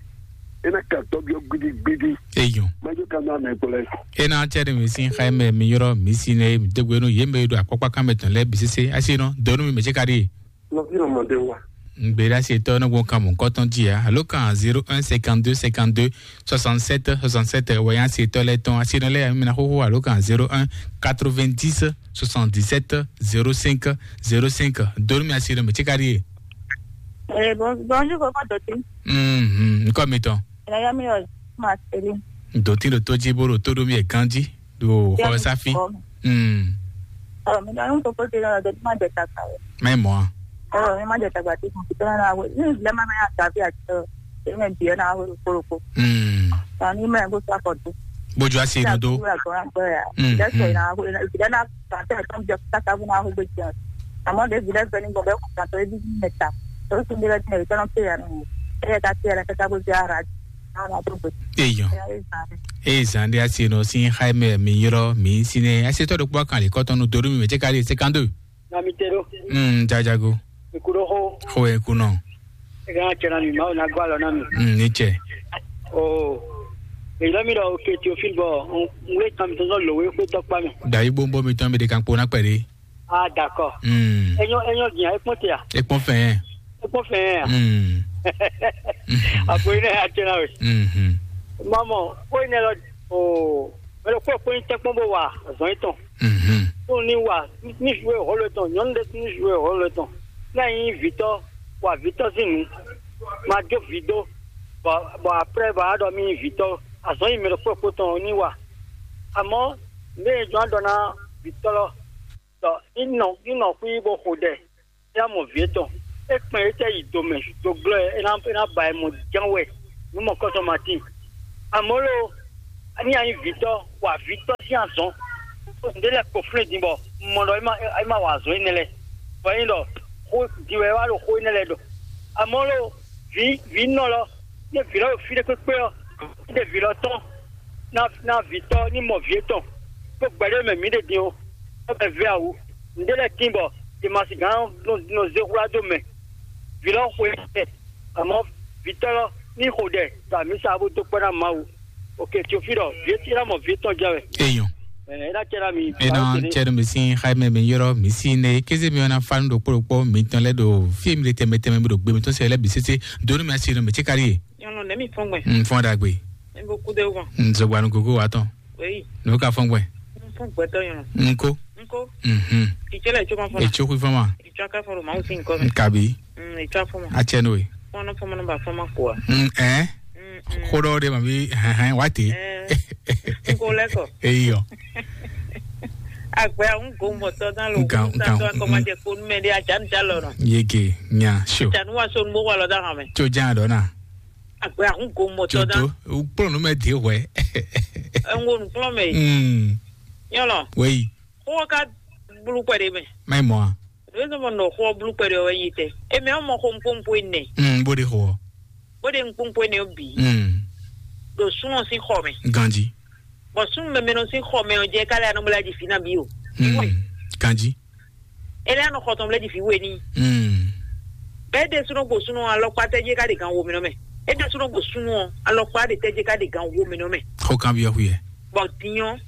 Ena ka tɔ biɔ gbidi gbidi. Eyɔn. Ma jo ka na mɛ kplɛ. Ena cɛ de mi sin xa mɛ mi yɔrɔ mi si ne mi degbe no ye mɛ do akpɔkpa kan mɛ tɔn lɛ bi sese asi nɔ donu mi mɛ cɛ ka di. Nɔvi nɔ mɔ ɖe wa. Ŋgbéɖásitɔ nɔ gbɔn kan mɔ̌kɔtɔn jí ǎ. Alo kan zéro un cinquante-deux cinquante-deux soixante-sept soixante-sept wɛ yá se tɔ lɛ tɔn asinɔ lɛ yamina xoxo alo kan zéro un quatre-vingt-dix soixante-dix-sept zéro cinq zéro cinq. Donu mi asinɔ mi tsi ka ɖi ye. Eh, bon, bonjour, koko Doti. Mhm, nkɔ mi tɔn. Ina yami yo Marceline. Doti ɖo tó jí bó ɖo tó ɖó mi ɛ kan jí. Ɖo xɔ ɛ sáfí. Mm. Ɔ mi ɖɔ nu koko te lɔ ɖe ma jɛ tata o. Mɛ mɔ a. Ɔ mi ma jɛ tagba te kɔn kitɔ na we ni lɛ ma mɛ ya gavi a tɔ e mɛ biɛ na we kpolokpo. Mm. Ɔ ni mɛ ko sa kɔ do. Bójú asi inú dó. Lɛ sɔ na we lɛ na tata tɔn jɛ tata bu na we gbé jɛ. Àmọ́ ɖe vi lɛ fɛ ni gbɔ bɛ kɔ tɔ ebi mɛ ta. To sun de lɛ tɛ tɔn pe ya nu. E ka te ya tata bo ja ra. Eyɔn. Eye zan ɖe asi nɔ sin xaimɛ mi ylɔ mi sinɛ asitɔ ɖokpɔ kan le kɔtɔn nu doɖo mi mɛ cɛ ka ɖi cinquante-deux. Na mi te ɖo. Mm, jajago. Ikuɖo xo. Xo ye kunɔ. Ega na cɛ na mi mawu na gbɔ alɔ na mi. Mm, ni cɛ. O. Èyí lɔ mi ɖɔ oke Théophile bɔ n wé kan mi tɔn sɔ lòwe xwé tɔkpa mi. Dayi gbogbo mi tɔn mi ɖe kan kpo na kpɛ ɖe. Ah, d'accord. Mm. Enyo enyo dia ekpɔn te a? Ekpɔn fɛn. Ekpɔn fɛn a? Mm. Apo ina ya tena we. Mhm. Mama, o ina lo o melo ko ko inte kpɔn bo wa zɔn itɔn. Mhm. Ko ni wa ni jouer rôle tɔn, nyɔnu de ni jouer rôle tɔn. Na yin vitɔ wa vitɔ sin nu. Ma jo vido. Bon, bon après ba do mi vitɔ. Azɔn yi melo ko ko tɔn ni wa. Àmọ́ ne jɔn dɔ na vitɔ lɔ. Ɔ, ní nɔ ní nɔ xwí bó xo ɖɛ, é ná mɔ vǐ étɔn. É kpɛn é tɛ yi do mɛ, do glɔ́ ɛ, é ná é ná ba ɛ mɔ ján wɛ, nú mɔ kɔ́tɔn ma tíin. Amɔ̌ lo, ní a nyí vǐtɔ́, wa vǐtɔ́ sín azɔn. Nǔɖé lɛ́ɛ kpo flɛ́n din bɔ un mɔ ɖɔ é má é má wa azɔn énɛ́ lɛ́ɛ. Bɔ é nyí ɖɔ xó din wɛ é wá ɖo xó énɛ́ lɛ́ɛ ɖɔ. Amɔ̌ lo, vǐ vǐ nɔ lɔ, ní vǐ lɔ ɖo fí ɖé kpékpé ɔ́, ní ɖe vǐ lɔ tɔn ná ná vǐtɔ́ ní mɔ vǐ étɔn, ɖó gbɛɖé mɛ mǐ ɖe din o, bɔ bɛ vɛ awu. Nǔɖé lɛ́ɛ tíin bɔ è ma sixú nɔ nɔ zé hwlá dó mɛ. Vǐ lɔ xwe ɛ, amɔ̌ vǐtɔ́ lɔ ní xo ɖɛ ɖo amǐsa bó dó kpɔ́ ná Mawu. Ok, Teofilɔ, vǐ é ná mɔ vǐ étɔn jɛ wɛ. Eyɔn. Ɛ, é ná cɛ ná mi. Ena cɛ ɖo mi sín xayimɛ mi yɔrɔ mi sí ne kéze mi ɔna fa nu ɖokpó ɖokpó mi tɔn lɛ ɖo fí mi ɖe tɛmɛ tɛmɛ mi ɖo gbe mi tɔn sɛ lɛ bi sese donu mi asi nu mi tsi kari ye. Nyɔnu nɛ mi fɔn gbɛ. N fɔn ɖagbe. N bɛ kudo wọn. N zɔgbanu gogo wa tɔn. Oyi. N'o ka fɔn gbɛ. N fɔn gbɛtɔ nyɔnu. N ko. N ko. Mhm. Ìtsɛ lɛ tso ma fɔn na. Etso kui fɔn ma. Ìtsɔ aka fɔn ma o si nkɔ mi. N kabi. Mm, ìtsɔ fɔn ma. A cɛ n'o ye. Fɔn fɔn ma ba fɔn ma ko wa. Mm, ɛ. Mm, mm. Xó ɖɔ de ma bi hɛn hɛn wa te. Ɛ. N ko lɛ kɔ. Eyɔ. Agbɛ ahun go mɔtɔ dan lo. Nkan nkan. Akɔmajɛ ko numɛ de ajanija lɔ nɔ. Yege nya sio. Janu wa so nugbo wa lɔ da hàn mɛ. Tso jan dɔ na. Agbɛ ahun go mɔtɔ dan. Jodo, ukplɔ nu mɛ de hwɛ. Ɛngo nukplɔ mɛ. Mm. Yɔlɔ. Wei. Xó ka blu kpɛ de mɛ. Mai mɔ a. Ɖo zɔn mɔ nɔ xó blu kpɛ de wɛ yi tɛ. Emi ɔmɔ xó nkpónkpó enɛ. Mm, bo de xó. Bo de nkpónkpó enɛ bi. Mm. Ɖo sunɔ sín xɔ mɛ. Ganji. Bɔ súnnu mɛmɛ nɔ sín xɔ mɛ ɔ́ jɛ ká lɛ anɔ bla jì fínà bí o. Mm. Ganji. Ele anɔ xɔ tɔn bla jì fí we ní. Mm. Bɛɛ ɖe súnɔ gbo súnɔ alɔkpa tɛjɛ ká ɖe gan wo mɛ nɔ mɛ. E ɖe súnɔ gbo súnɔ alɔkpa ɖe tɛjɛ ká ɖe gan wo mɛ nɔ mɛ. Xó kan byɔ́ xú yɛ. Bɔ dinyɔ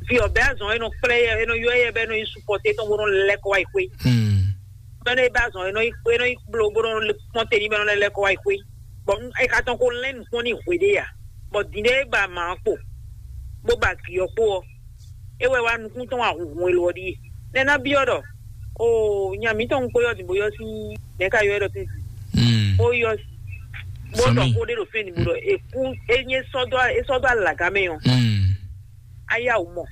fi ɔbɛ azɔn enɔ kplɛ yɛ enɔ yɔ yɛ bɛ enɔ yi supɔte tɔn bó nɔ lɛ kɔ wá yi xwé. Mm. Bɛ enɔ yi bɛ azɔn enɔ yi enɔ yi blo bó nɔ kpɔn te ní bɛ enɔ lɛ lɛ kɔ wá yi xwé. Bɔ e ka tɔn ko lɛn nukpɔn ní hwe ɖé ya. Bɔ din ɖé ba ma kpo bó ba gǐ ɔ́ kpo ɔ́, é wɛ wá nukún tɔn wá hunhun elo ɔ́ ɖíe. Nɛ́ ná byɔ́ ɖɔ o nya mǐtɔn kpó yɔ din bó yɔ sín nɛ̌ ka yɔ ɛ ɖɔ tɛ́ntin. Mm. Bó yɔ bó Sɔmí. Tɔ xó ɖé ɖo fɛn ní bó ɖɔ èkú é nyé sɔ́dɔ é sɔ́dɔ alagá mɛ ɔ́. Mm. Ayá wò mɔ.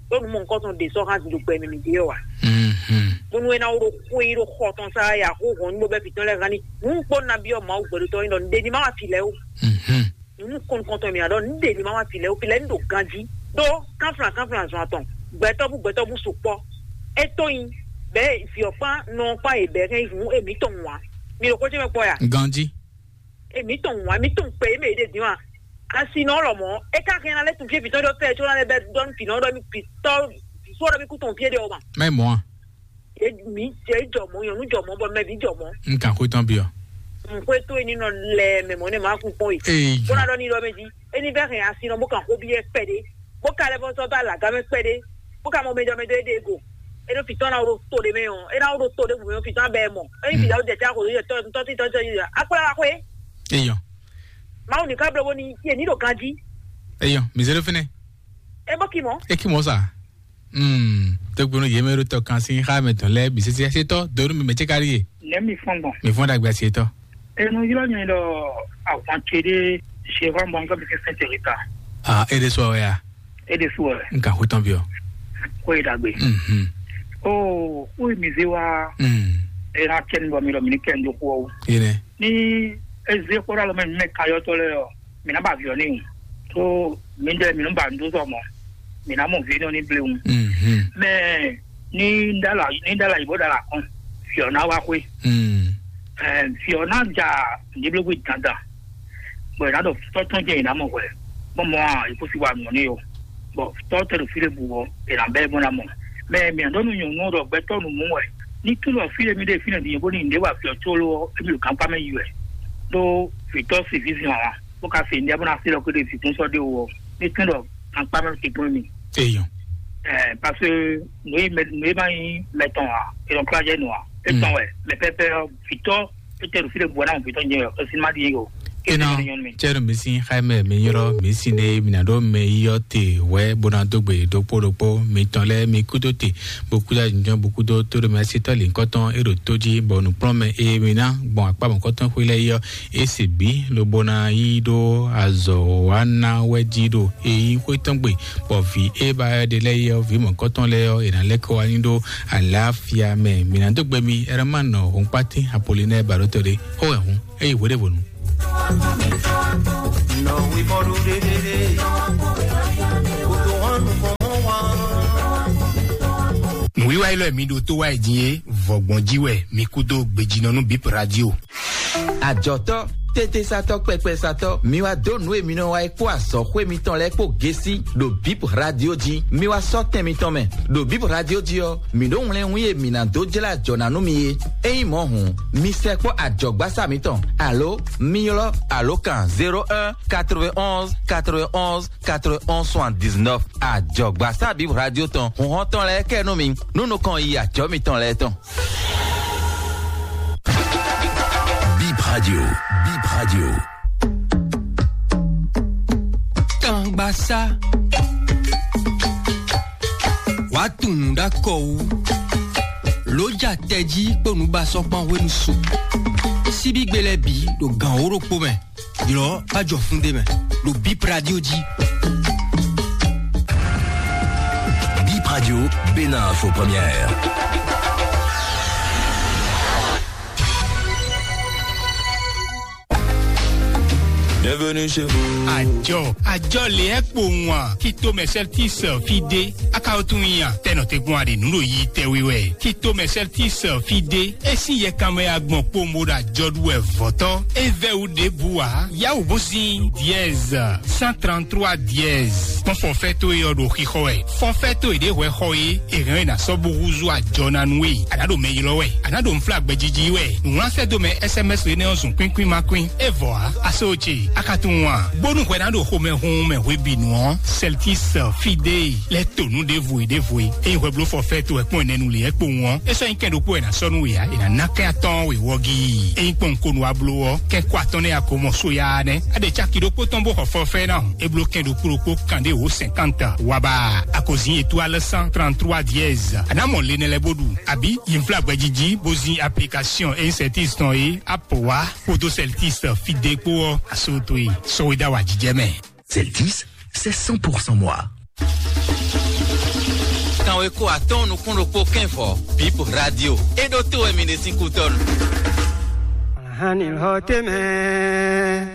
Ɖó nu mɔ nukɔn tɔn ɖe sɔ́ hán din ɖo gbɛ mɛ mǐ ɖe ɔ́ wa. Mhm. Bónú é ná wó ɖo xó yi ɖo xɔ tɔn sá ya xó hɔn ní bó bɛ́ fǐtɔ́n lɛ́ɛ hán ní. Nǔ kpó nabí ɔ́ Mawu gbɛɖotɔ́ nyí ɖɔ nǔɖé ní má wá fi lɛ́ɛ ó. Mhm. Nǔ kɔn nukɔn tɔn mǐ ná ɖɔ nǔɖé ní má wá fi lɛ́ɛ ó, fi lɛ́ɛ ní ɖo ganjí. Ɖó kánflán kánflán zɔn atɔn, gbɛtɔ́ bú gbɛtɔ́ bú sukpɔ́. É tó nyi bɛ̌ vǐ ɔ́ kpán nɔ ɔ́ kpán yě bɛ̌ hɛn yi hǔn émǐtɔn wǎ. Mi ɖo xó ce mɛ kpɔ́ ya? Ganjí. Èmi tɔn wǎn, èmi tɔn kpɛ, èmi èɖe dín wa. Asi nɔ lɔ mɔ, e ka hɛn na lɛ tun fie fitɔ ɖɔ fɛ, tso na lɛ bɛ dɔn fi nɔ ɖɔ mi fitɔ, fo ɖɔ mi ku tɔn fie ɖe o ma. Mɛ mɔ a? E mi, e jɔ mɔ, nyɔnu jɔ mɔ, bɔ mɛ bi jɔ mɔ. N kan xwe tɔn bi ɔ. N xwe to eni nɔ lɛ mɛ mɔ ne ma kun kpɔn yi. Ee, Bona dɔ ni dɔ mɛ di. Eni bɛ hɛn asi nɔ bo kan xo bi yɛ kpɛ de. Bo ka lɛ bɔ sɔ ba la game kpɛ de. Bo ka mɔ mɛ jɔ mɛ do e de go. E do fitɔ na wo to de mɛ o. E na wo to de bu mɛ o fitɔ bɛ mɔ. Eni fitɔ jɛ ca ko yɛ tɔ tɔ ti tɔ tɔ yi. Akpla la xwe. Eyɔ. Mawu ni ka blo bo ni ye ni do ganji. Eyɔ, mi zero fine. E bo ki mɔ. E ki mɔ sa. Hmm, to gbɔnɔ yeme ɖo tɔ kan sin xa mɛ tɔn lɛ bi sese se tɔ do mi mɛ ce kari ye. Nɛ mi fɔn gbɔn. Mi fɔn dagbe se tɔ. Enu ylɔ nyɛ ɖɔ ahwan ce ɖe se hɔn bɔn nka bi ke sɛn teri ta. Ah, e de so ya. E de so ya. Nka ho tɔn bi o. Ko e dagbe. Mhm. Oh, o mi ze wa. Hmm. E na kɛ ni bɔ mi lɔ mi ni kɛ ni do ko. Yene. Ni e ze ko da lɔ mɛ mɛ kayɔ tɔ lɛ ɔ. Mi na ba viɔ ni. So mi de mi nu ba ndu zɔ mɔ. Mi na mɔ vi nɔ ni blewu. Mhm. Mɛ ni dala ni dala yibo dala kɔn. Fiɔ na wa xwe. Mm. Ɛɛ, fiɔ na ja niblogbe dandan. Bɔn ina ɖo tɔtɔn jɛ ina mɔ hwɛ. Bɔn mɔ a ikusi wa nɔ ne yo. Bɔn tɔ tɛ ɖo fi ɖe bu wɔ ina bɛ bɔ na mɔ. Mɛ mi ɖɔ nu nyɔnu ɖɔ gbɛtɔ nu mu wɛ. Ni tu lɔ fi ɖe mi ɖe fi ne di yebo ni nde wa fiɔ tsolo emi ɖo gankpa mɛ yi wɛ. Ɖo fitɔ si vi zi wa. Bó ka se ndia bó na se lɔ kó ɖe fikún sɔ́ ɖe wɔ ní tún ɖɔ akpá mɛ ke kpɔ́n mi. Eyɔn. Ɛɛ, parce que nùyí mɛ nùyí ma nyí mɛtɔn a, ènɔ kplá jɛ nù a, etɔn wɛ mɛ pɛpɛ vitɔ, etɛ ɖo fi ɖe bɔ náà vitɔ nyɛ ɔ sinima di o. Ena, cɛnu mi sin xaimɛ mi nyrɔ mi sin ne mi na ɖo mɛ yiyɔ te wɛ bona dogbe ɖokpo ɖokpo mi tɔn lɛ mi kudo te bo kudo ajunjɔn bo kudo to ɖo mi asi tɔ li nkɔtɔn e ɖo to ji bɔ nukplɔn mɛ e mi na gbɔn akpa mɔkɔtɔn xwe lɛ yɔ e se bi lobo na yi ɖo azɔ wa na wɛ ji ɖo e yi xwe tɔn gbe bɔ vi e ba yɔ ɖe lɛ yɔ vi mɔkɔtɔn lɛ yɔ e na lɛ kɔ wa nyi ɖo alafia mɛ mi na dogbe mi ɛrɛ ma nɔ hɔnkpati apolinɛ baɖotɔ ɖe xo wɛ hun. Eye hweɖěvonu. Nǔwiwa élɔ́ e mi ɖo tó wá yi din é, vɔgbɔn jí wɛ mi kúdó gbejínɔ nú Bip Radio. Ajɔtɔ, tete satɔ, kpɛkpɛ satɔ, mi wá dó nǔ e mi nɔ wa é kpó azɔxwé mitɔn lɛ́ɛ kpó gesi ɖo Bip Radio jí. Mi wá sɔ́ tɛn mitɔn mɛ ɖo Bip Radio jí ɔ́, mǐ ɖó wlɛ́nwín e mǐ ná dó jlá ajɔ ná nú mi é. Ényí mɔ̌ hǔn, mi sɛkpɔ́ ajɔ̌gbásá mitɔn, alo mi ylɔ́ alǒkan zéro un quatre-vingt-onze quatre-vingt-onze quatre-vingt-onze soixante-dix-neuf. Ajɔ̌gbásá Bib Radio tɔn, hǔnhɔ́n tɔn lɛ́ɛ kɛ nú mi, nú nukɔn yi ajɔ̌ mitɔn lɛ́ɛ tɔn. Bip Radio, Bip Radio. Tangbasá. Wàá tunwun ɖó akɔ wú. Lǒ ja tɛjí kpó nǔbasɔ́kpán hwenu su. Síbígbe lɛ́ɛ bǐ ɖo gǎn wó ɖokpó mɛ. Ylɔ̌ bá jɔ fún ɖé mɛ ɖo Bip Radio jí. Bip Radio, Bénin Info Première. Bienvenue chez vous. Àjọ, àjọ lè ẹ́ kpowun a, kí tó mɛ sɛltis fi dé, a ka wo tún nyi a, tɛnɔ te gbɔn a ɖe nǔ ɖo yi tɛwi wɛ, kí tó mɛ sɛltis fi dé, e sín yɛ kanmɛ agbɔn kpowun bó ɖo àjɔ ɖu wɛ vɔ̌tɔ́, e vɛ́ wú ɖěbǔ ǎ, yáwǔ bó sín dièse cent trente-trois dièse, kpɔ́n fɔfɛ́ tó e ɔ́ ɖo xixɔ wɛ. Fɔfɛ́ tó e ɖě hwɛ xɔ é, è hɛn ɔ́ è nǎ sɔ́ bó húzú ajɔ ná nú we. A nǎ ɖo mɛ ylɔ́ wɛ, a nǎ ɖo nflá gbɛjiji wɛ. Nǔwlán sɛ́ dó mɛ S M S énɛ́ ɔ́ zun kwín kwín ma kwín. É vɔ ǎ, a se o ce, a ka tunwun a? Bónú hwɛ ná ɖo xomɛ hun mɛ hwebǐnu ɔ́, Celtis Fidei lɛ́ to nǔ ɖěvo e ɖěvo e. Ényí hwɛ bló fɔfɛ́ tó wɛ kpɔ́n ɛnɛ nu lě ɛ kpowun ɔ́, é sɔ́ nyí kɛn ɖokpó wɛ è nǎ sɔ́ nú we ǎ, è nǎ ná kɛn atɔ́ɔ́n we wɔ gíí. Ényí kpɔ́n un ko nu wá bló ɔ́, kɛn kó atɔ́ɔ́n nɛ́ a ko mɔ sóyá nɛ́. A ɖe caki ɖokpó tɔn bó xɔ fɔfɛ́ ná hǔn. É bló kɛn ɖokpó ɖokpó kanɖé wǒ cinquante. Waba, a ko zin étoile cent trente-trois dièse. A nǎ mɔ le nɛ lɛ́ɛ bó ɖu, abǐ yi nflá gbɛjiji bó zin application e Celtis tɔn é, Apple wá, kpódó Celtis Fidei kpó ɔ́, a só towe sɔ́ we dó awǎjijɛ mɛ. Celtis, c'est cent pour cent moi. Kanweko atɔ́ɔ́n nukún ɖokpó kɛ́n vɔ, Bip Radio. É ɖó tó wɛ mi ɖe sín kútɔ́nu. Ahan ni hɔ tɛmɛ.